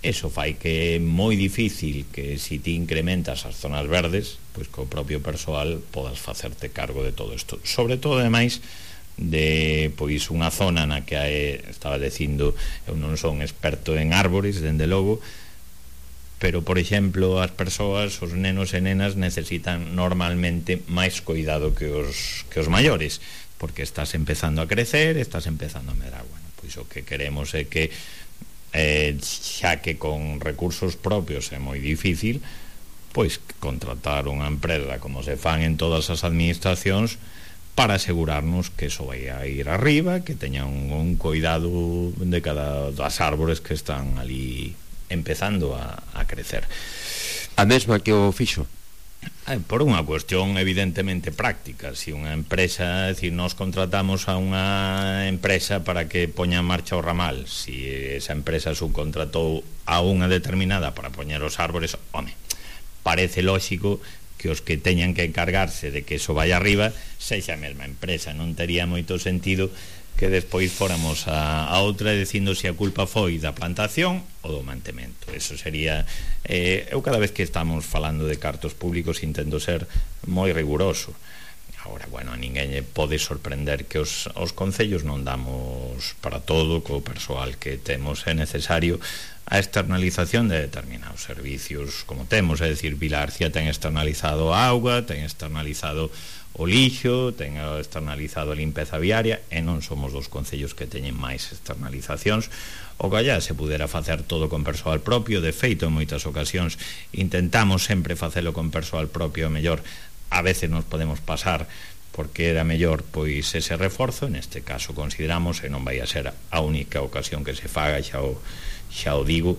Eso fai que é moi difícil que se ti incrementas as zonas verdes, pois co propio persoal podas facerte cargo de todo isto. Sobre todo, ademais, de pois unha zona na que hai, estaba dicindo, eu non son experto en árbores, dende logo, pero, por exemplo, as persoas, os nenos e nenas necesitan normalmente máis cuidado que os, que os maiores, porque estás empezando a crecer, estás empezando a medrar. Bueno, pois o que queremos é que Eh, xa que con recursos propios é moi difícil, pois contratar unha empresa como se fan en todas as administracións para asegurarnos que eso vai a ir arriba, que teña un, un cuidado de cada das árbores que están ali empezando a, a crecer. A mesma que o fixo? Por unha cuestión evidentemente práctica. Si unha empresa, é dicir, nos contratamos a unha empresa para que poña en marcha o ramal, si esa empresa subcontratou a unha determinada para poñer os árbores, home, parece lógico que os que teñan que encargarse de que eso vaya arriba sexa a mesma empresa. Non tería moito sentido que despois fóramos a, a outra dicindo se a culpa foi da plantación ou do mantemento. Eso sería eh, eu cada vez que estamos falando de cartos públicos intento ser moi riguroso. Agora, bueno, a ninguén pode sorprender que os, os concellos non damos para todo, co persoal que temos é necesario a externalización de determinados servicios como temos, é dicir, Vilagarcía ten externalizado a auga, ten externalizado o lixo, ten externalizado a limpeza viaria, e non somos dos concellos que teñen máis externalizacións. O que allá se pudera facer todo con persoal propio. De feito, en moitas ocasións intentamos sempre facelo con persoal propio, a mellor a veces nos podemos pasar porque era mellor pois ese reforzo. Neste caso consideramos, e non vai a ser a única ocasión que se faga, xa o, xa o digo,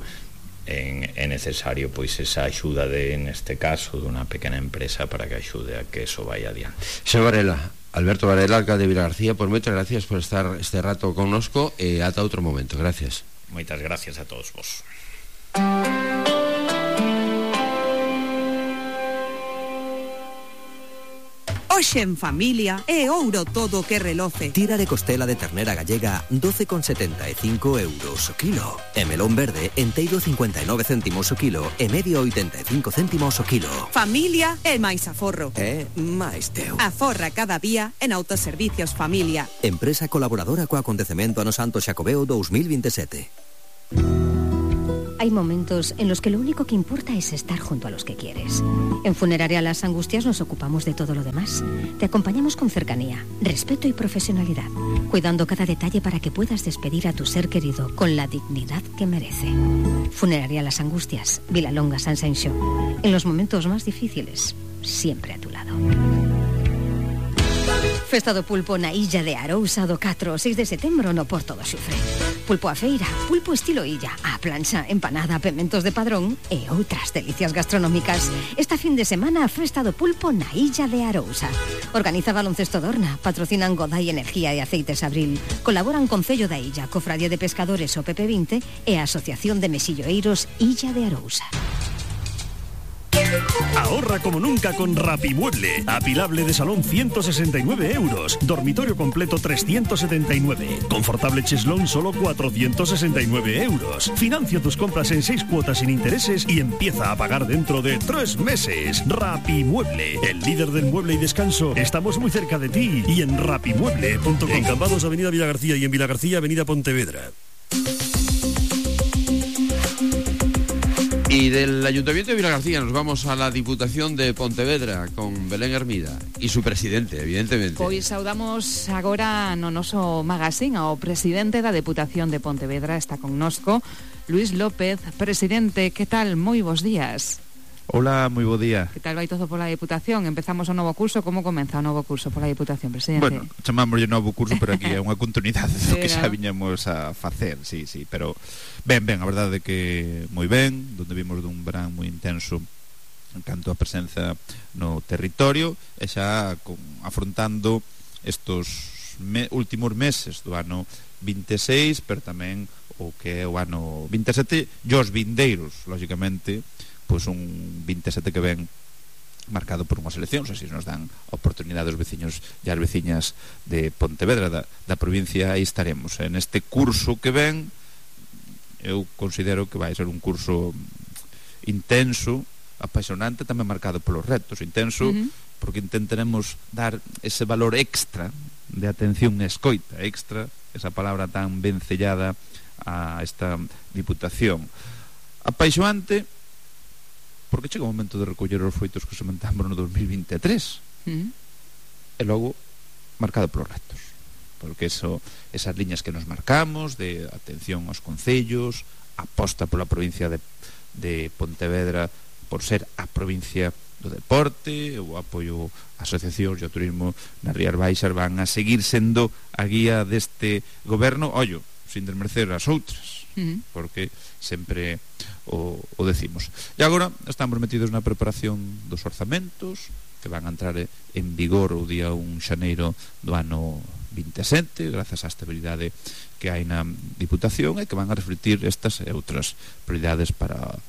En, é necesario pois esa axuda de, neste caso, dunha pequena empresa para que axude a que eso vaya adiante. Señor Varela, Alberto Varela, alcalde de Vilagarcía, por moitas gracias por estar este rato connosco e ata outro momento. Gracias. Moitas gracias a todos vos. Hoxe en familia é ouro todo o que reloce. Tira de costela de ternera gallega doce con setenta e cinco euros o kilo. E melón verde enteiro cincuenta e nove céntimos o kilo e medio oitenta e cinco céntimos o kilo. Familia é máis aforro. É máis teu. Aforra cada día en Autoservicios Familia. Empresa colaboradora co acontecemento Ano Santo Xacobeo dos mil veintisiete. Hay momentos en los que lo único que importa es estar junto a los que quieres. En Funeraria Las Angustias nos ocupamos de todo lo demás. Te acompañamos con cercanía, respeto y profesionalidad, cuidando cada detalle para que puedas despedir a tu ser querido con la dignidad que merece. Funeraria Las Angustias, Vilalonga, San Senxo. En los momentos más difíciles, siempre a tu lado. Festa do pulpo na Illa de Arousa do catro ao seis de setembro no Porto do Xufre. Pulpo a feira, pulpo estilo illa, a plancha, empanada, pementos de padrón e outras delicias gastronómicas. Esta fin de semana a Festa do pulpo na Illa de Arousa. Organiza Baloncesto Dorna, patrocinan Godai Energía e Aceites Abril. Colaboran Concello da Illa, Cofradía de Pescadores o P P vinte e a Asociación de Mesilloeiros Illa de Arousa. Ahorra como nunca con Rapimueble. Apilable de salón ciento sesenta y nueve euros. Dormitorio completo trescientos setenta y nueve. Confortable cheslón solo cuatrocientos sesenta y nueve euros. Financia tus compras en seis cuotas sin intereses y empieza a pagar dentro de tres meses. Rapimueble, el líder del mueble y descanso. Estamos muy cerca de ti y en rapimueble punto com. En Cambados, Avenida Vilagarcía, y en Vilagarcía, Avenida Pontevedra. Y del Ayuntamiento de Vilagarcía nos vamos a la Diputación de Pontevedra con Belén Hermida y su presidente, evidentemente. Pois saudamos agora no noso magazín ao presidente da Deputación de Pontevedra, está connosco, Luis López. Presidente, que tal? Moi bons días. Hola, moi bo día. Que tal vai todo pola Deputación? Empezamos o novo curso, como comeza o novo curso pola Deputación, presidente? Bueno, chamámoslle novo curso, pero aquí é unha continuidade do que xa viñamos a facer, sí, sí, pero ben, ben, a verdade é que moi ben, donde vimos dun verán moi intenso en canto a presenza no territorio, e xa con, afrontando estos me, últimos meses do ano vinte e seis, pero tamén o que é o ano vinte e sete, e os vindeiros, lógicamente, pois un vinte e sete que ven marcado por unhas eleccións, así nos dan oportunidade aos veciños e as veciñas de Pontevedra, da, da provincia. Aí estaremos en este curso que ven. Eu considero que vai ser un curso intenso, apaixonante, tamén marcado polos retos. Intenso, uh-huh. porque intentaremos dar ese valor extra de atención e escoita, extra, esa palabra tan ben sellada a esta Diputación. Apaixonante porque chega o momento de recoller os froitos que sementamos no dos mil vinte e tres, uh-huh. e logo marcado polos retos, porque eso, esas liñas que nos marcamos de atención aos concellos, aposta pola provincia de, de Pontevedra por ser a provincia do deporte, o apoio a asociacións e ao turismo nas Rías Baixas van a seguir sendo a guía deste goberno, ollo, sin desmerecer as outras, uh-huh. porque sempre o, o decimos. E agora estamos metidos na preparación dos orzamentos que van a entrar en vigor o día un de xaneiro do ano vinte e sete, grazas á estabilidade que hai na Diputación, e que van a refletir estas e outras prioridades para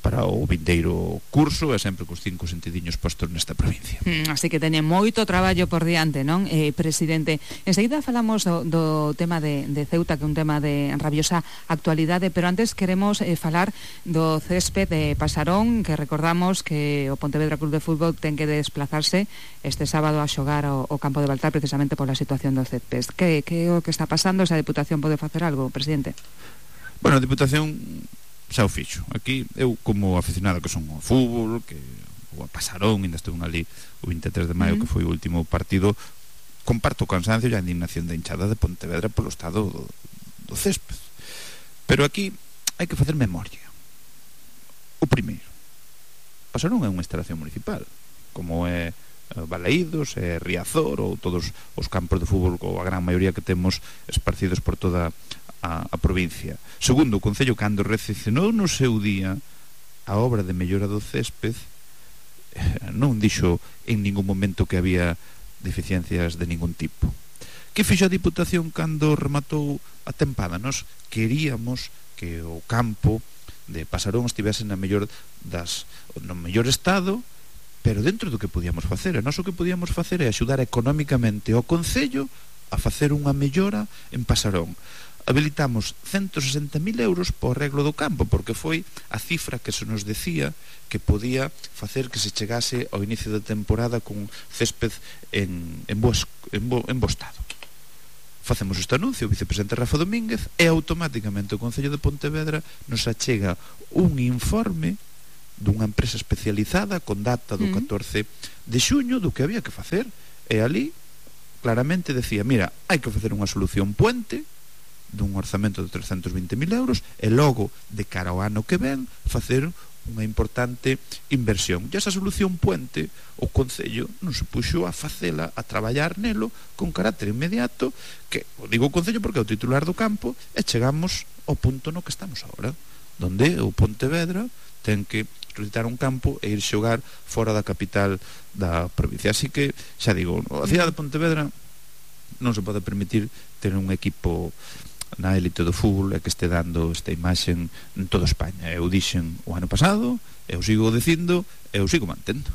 para o vindeiro curso, e sempre cos cinco sentidiños postos nesta provincia. Mm, así que teñen moito traballo por diante, non, eh, presidente? Enseguida falamos do, do tema de, de Ceuta, que é un tema de rabiosa actualidade, pero antes queremos eh, falar do césped de Pasarón, que recordamos que o Pontevedra Club de Fútbol ten que desplazarse este sábado a xogar ao, ao campo de Baltar, precisamente pola situación do césped. Que, que é o que está pasando? Esa Deputación pode facer algo, presidente? Bueno, a Deputación xa o fixo. Aquí, eu como aficionado que son ao fútbol, que o a Pasarón, ainda estuve ali o vinte e tres de maio, uh-huh. que foi o último partido, comparto o cansancio e a indignación da hinchada de Pontevedra polo estado do, do césped. Pero aquí hai que facer memoria. O primeiro, Pasarón é unha instalación municipal, como é Balaídos, é Riazor, ou todos os campos de fútbol, ou a gran maioría que temos esparcidos por toda A, a provincia. Segundo, o Concello, cando recepcionou no seu día a obra de mellora do césped, eh, non dixo en ningún momento que había deficiencias de ningún tipo. Que fixo a Diputación cando rematou a tempada? Nos queríamos que o campo de Pasarón estivese na mellor das, no mellor estado, pero dentro do que podíamos facer. E nós o que podíamos facer é axudar económicamente ao Concello a facer unha mellora en Pasarón. Habilitamos ciento sesenta mil euros para o arreglo do campo, porque foi a cifra que se nos decía que podía facer que se chegase ao inicio da temporada con césped en, en, bo, en, bo, en bo estado. Facemos este anuncio, o vicepresidente Rafa Domínguez, e automáticamente o Concello de Pontevedra nos achega un informe dunha empresa especializada con data do catorce de xuño do que había que facer, e ali claramente decía, mira, hai que facer unha solución puente dun orzamento de trescentos vinte mil euros e logo, de cara ao ano que ven, facer unha importante inversión. E esa solución puente o Concello non se puxo a facela, a traballar nelo con carácter inmediato, que o digo o Concello porque é o titular do campo, e chegamos ao punto no que estamos agora, donde o Pontevedra ten que solicitar un campo e ir xogar fora da capital da provincia. Así que, xa digo, a cidade de Pontevedra non se pode permitir ter un equipo na élite do fútbol e que este dando esta imaxen en toda España. Eu dixen o ano pasado, eu sigo dicindo, eu sigo mantendo.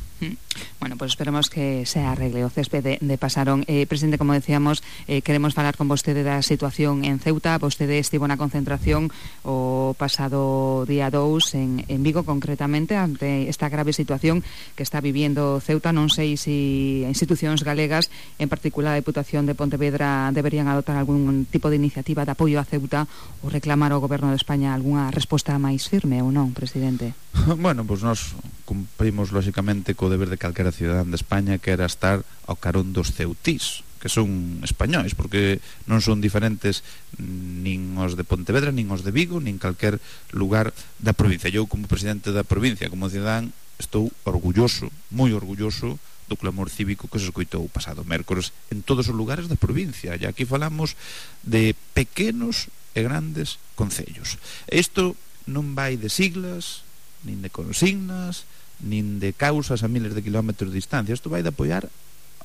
Bueno, pues esperemos que se arregle o césped de, de Pasarón. Eh, presidente, como decíamos, eh, queremos falar con vostede da situación en Ceuta. Vostede estivo na concentración o pasado día dous en, en Vigo, concretamente, ante esta grave situación que está viviendo Ceuta. Non sei se institucións galegas, en particular a Deputación de Pontevedra, deberían adoptar algún tipo de iniciativa de apoio a Ceuta ou reclamar ao Goberno de España algunha resposta máis firme ou non, presidente? Bueno, pues nós cumprimos lógicamente co deber de calquera cidadán de España, que era estar ao carón dos ceutís, que son españois, porque non son diferentes nin os de Pontevedra, nin os de Vigo, nin calquer lugar da provincia. Eu, como presidente da provincia, como cidadán, estou orgulloso, moi orgulloso do clamor cívico que se escoitou o pasado mércores en todos os lugares da provincia. E aquí falamos de pequenos e grandes concellos. Isto non vai de siglas, nin de consignas, nin de causas a miles de kilómetros de distancia. Isto vai de apoiar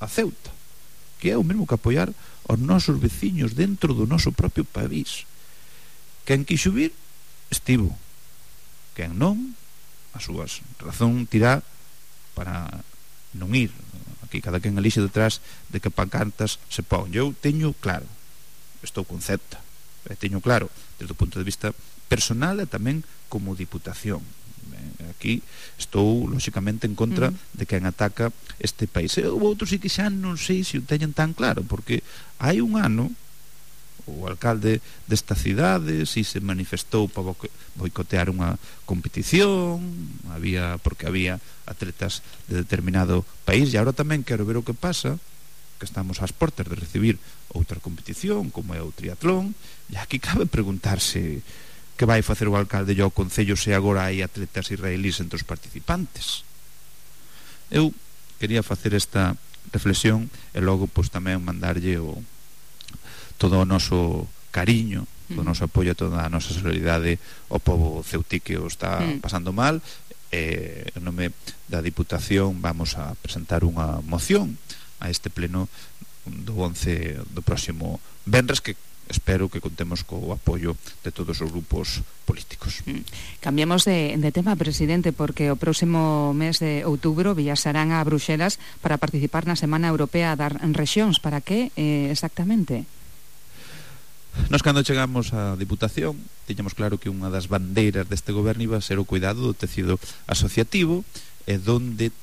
a Ceuta, que é o mesmo que apoiar aos nosos veciños dentro do noso propio país. Quen quixo vir, estivo. Quen non, as súas razón tirá para non ir. Aquí cada quen elixe detrás de que pancartas se pon. Eu teño claro, estou con Ceuta, e teño claro desde o punto de vista personal e tamén como diputación. Aquí estou lógicamente en contra uh -huh. de quen ataca este país. E o outro sí que xa non sei se o teñen tan claro, porque hai un ano o alcalde desta cidade si se manifestou para boicotear unha competición, había porque había atletas de determinado país, e agora tamén quero ver o que pasa, que estamos ás portas de recibir outra competición como é o triatlón, e aquí cabe preguntarse que vai facer o alcalde e o Concello se agora hai atletas israelíes entre os participantes. Eu quería facer esta reflexión e logo pois tamén mandarlle o, todo o noso cariño, todo o noso apoio, toda a nosa solidaridade ao pobo ceutí que o está pasando mal. E en nome da Diputación vamos a presentar unha moción a este pleno do once do próximo venres, que espero que contemos co apoio de todos os grupos políticos. Cambiamos de, de tema, presidente, porque o próximo mes de outubro viaxarán a Bruxelas para participar na Semana Europea das Rexións. Para que eh, exactamente? Nos, cando chegamos á Diputación, tiñamos claro que unha das bandeiras deste goberno iba a ser o cuidado do tecido asociativo, e donde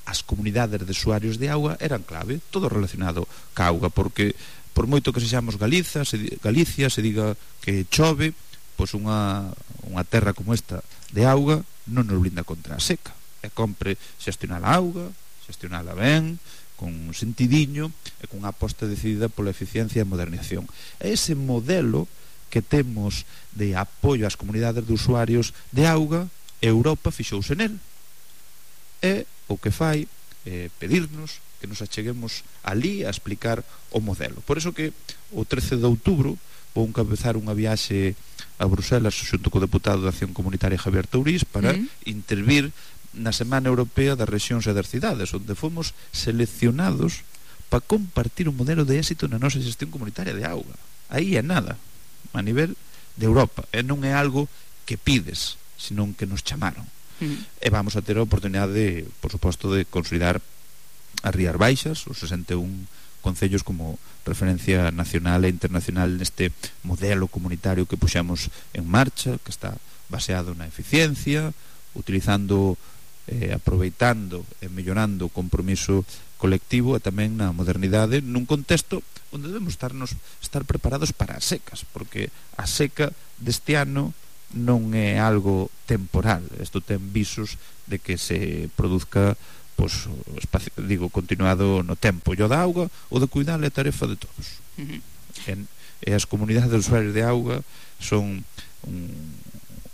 as comunidades de usuarios de auga eran clave, todo relacionado ca auga, porque por moito que sexamos Galiza, se, Galicia, se diga que chove, pois unha, unha terra como esta de auga non nos blinda contra a seca. E compre xestionar a auga, xestionala ben, con un sentidiño e con unha aposta decidida pola eficiencia e modernización. E ese modelo que temos de apoio ás comunidades de usuarios de auga, Europa fixouse nel. E o que fai é pedirnos que nos acheguemos ali a explicar o modelo. Por eso que o trece de outubro vou encabezar unha viaxe a Bruxelas xunto co deputado de Acción Comunitaria Javier Tourís para mm. intervir na Semana Europea das Rexións e das Cidades, onde fomos seleccionados para compartir un modelo de éxito na nosa xestión comunitaria de auga. Aí é nada, a nivel de Europa, e non é algo que pides, senón que nos chamaron. e vamos a ter a oportunidade de, por suposto, de consolidar as Rías Baixas, os sesenta e un concellos como referencia nacional e internacional neste modelo comunitario que puxemos en marcha, que está baseado na eficiencia, utilizando, eh, aproveitando e mellorando o compromiso colectivo e tamén na modernidade nun contexto onde debemos estarnos, estar preparados para as secas, porque a seca deste ano non é algo temporal, isto ten visos de que se produzca, pois, espacio, digo, continuado no tempo. E o da auga, o de cuidar é tarefa de todos. Uh-huh. en, e as comunidades de usuarios de auga son un,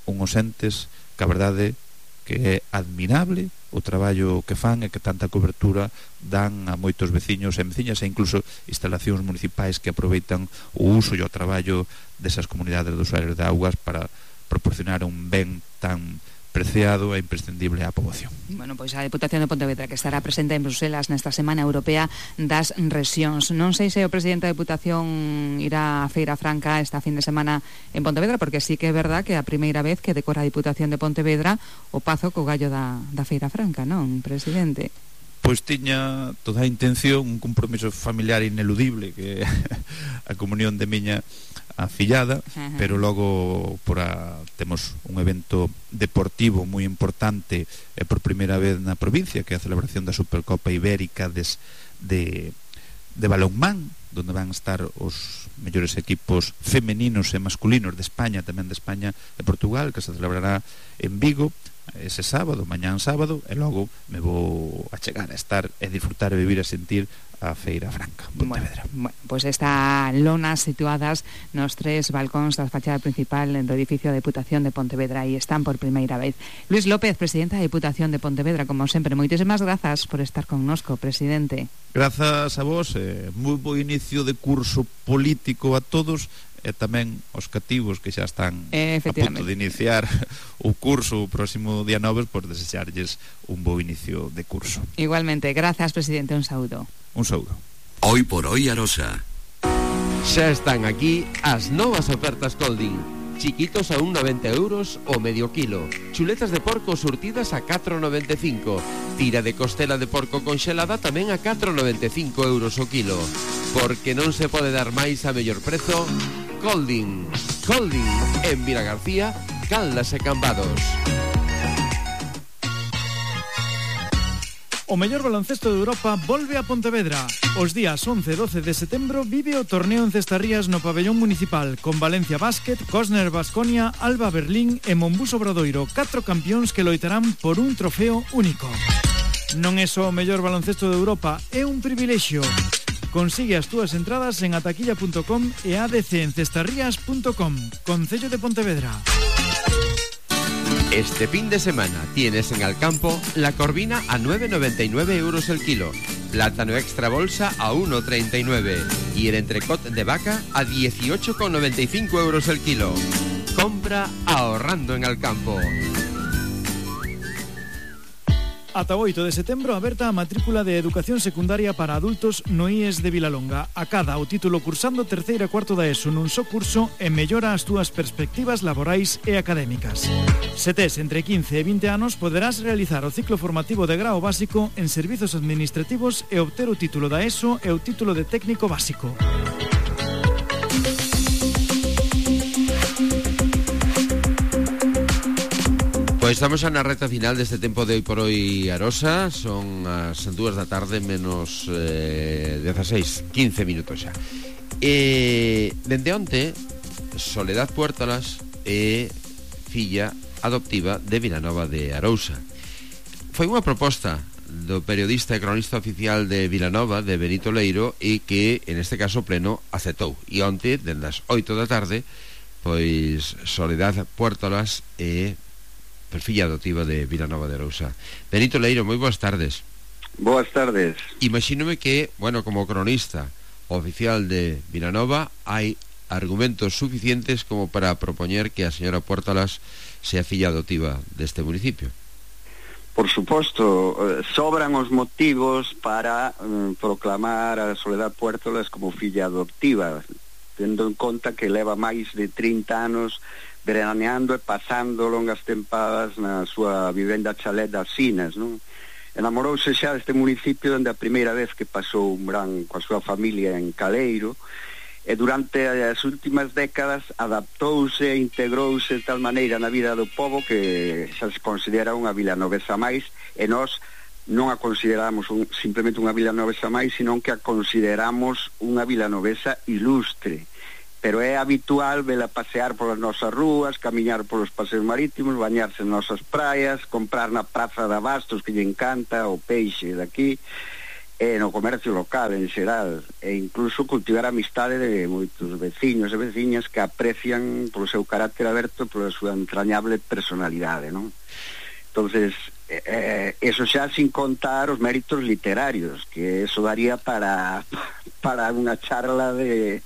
unhos entes que a verdade que é admirable o traballo que fan e que tanta cobertura dan a moitos veciños e veciñas e incluso instalacións municipais que aproveitan o uso e o traballo desas comunidades de usuarios de augas para proporcionar un ben tan preciado e imprescindible á poboación. Bueno, pois a Deputación de Pontevedra que estará presente en Bruselas nesta Semana Europea das Rexións. Non sei se o presidente da Deputación irá a Feira Franca esta fin de semana en Pontevedra, porque sí que é verdad que é a primeira vez que decora a Deputación de Pontevedra o pazo co gallo da, da Feira Franca, non, presidente? Pois tiña toda a intención, un compromiso familiar ineludible, que a comunión de miña afillada, uh-huh. pero logo por a, temos un evento deportivo moi importante e por primeira vez na provincia, que é a celebración da Supercopa Ibérica des, de, de balonmán, donde van estar os mellores equipos femeninos e masculinos de España, tamén de España e Portugal, que se celebrará en Vigo ese sábado, mañán sábado, e logo me vou a chegar a estar e disfrutar e vivir e sentir a Feira Franca, Pontevedra. Bueno, pois pues está lonas situadas nos tres balcóns da fachada principal do edificio da Deputación de Pontevedra e están por primeira vez. Luis López, presidente da Deputación de Pontevedra, como sempre, moitísimas grazas por estar connosco, presidente. Grazas a vos, eh, moi bo inicio de curso político a todos e tamén os cativos que xa están a punto de iniciar o curso o próximo día nove, por desexarlles un bo inicio de curso. Igualmente, grazas, presidente, un saúdo. Un saúdo. Hoy por hoy Arosa. Xa están aquí as novas ofertas Colding. Chiquitos a un noventa euros o medio kilo. Chuletas de porco surtidas a catro noventa e cinco. Tira de costela de porco conxelada tamén a catro noventa e cinco euros o kilo. Porque non se pode dar máis a mellor prezo. Colding. Colding en Vilagarcía, Caldas e Cambados. O mellor baloncesto de Europa volve a Pontevedra. Os días once e doce de setembro vive o torneo en Cestarrías no pabellón municipal, con Valencia Basket, Cosner Baskonia, Alba Berlín e Monbus Obradoiro, catro campións que loitarán por un trofeo único. Non é só o mellor baloncesto de Europa, é un privilexio. Consigue as túas entradas en ataquilla punto com e a d c en cestarrías punto com. Concello de Pontevedra. Este fin de semana tienes en Alcampo la corvina a nueve noventa y nueve euros el kilo, plátano extra bolsa a uno treinta y nueve y el entrecot de vaca a dieciocho noventa y cinco euros el kilo. Compra ahorrando en Alcampo. Ata o oito de setembro aberta a matrícula de Educación Secundaria para adultos no I E S de Vilalonga. Acada o título cursando terceira e cuarto da ESO nun só curso e mellora as túas perspectivas laborais e académicas. Se tes entre quince e vinte anos, poderás realizar o ciclo formativo de grao básico en servizos administrativos e obter o título da ESO e o título de técnico básico. Pois estamos na reta final deste tempo de Hoy por Hoy Arosa. Son as dúas da tarde menos eh, dezaseis, quince minutos xa. E dende onte Soledad Puertolas é filla adoptiva de Vilanova de Arousa. Foi unha proposta do periodista e cronista oficial de Vilanova, de Benito Leiro, e que en este caso pleno aceptou. E onte, dende as oito da tarde, pois Soledad Puertolas é per filla adoptiva de Vilanova de Arousa. Benito Leiro, moi boas tardes. Boas tardes. Imagínome que, bueno, como cronista oficial de Vilanova, hai argumentos suficientes como para propoñer que a señora Puertolas sea filla adoptiva deste municipio. Por suposto, sobran os motivos para eh, proclamar a Soledad Puertolas como filla adoptiva, tendo en conta que leva máis de trinta anos veraneando e pasando longas tempadas na súa vivenda chalet das Sinas, non? Enamorouse xa deste municipio onde a primeira vez que pasou un verán coa súa familia en Caleiro, e durante as últimas décadas adaptouse e integrouse de tal maneira na vida do povo que xa se considera unha vilanovesa máis, e nós non a consideramos un, simplemente unha vilanovesa máis, sino que a consideramos unha vilanovesa ilustre. Pero é habitual vela pasear polas nosas rúas, camiñar polos paseos marítimos, bañarse en nosas praias, comprar na praza de abastos que lle encanta o peixe daqui, e no comercio local en xeral, e incluso cultivar a amistade de moitos veciños e veciñas que aprecian polo seu carácter aberto e pola súa entrañable personalidade, non? Entonces, eh, eso xa sin contar os méritos literarios, que eso daría para para unha charla de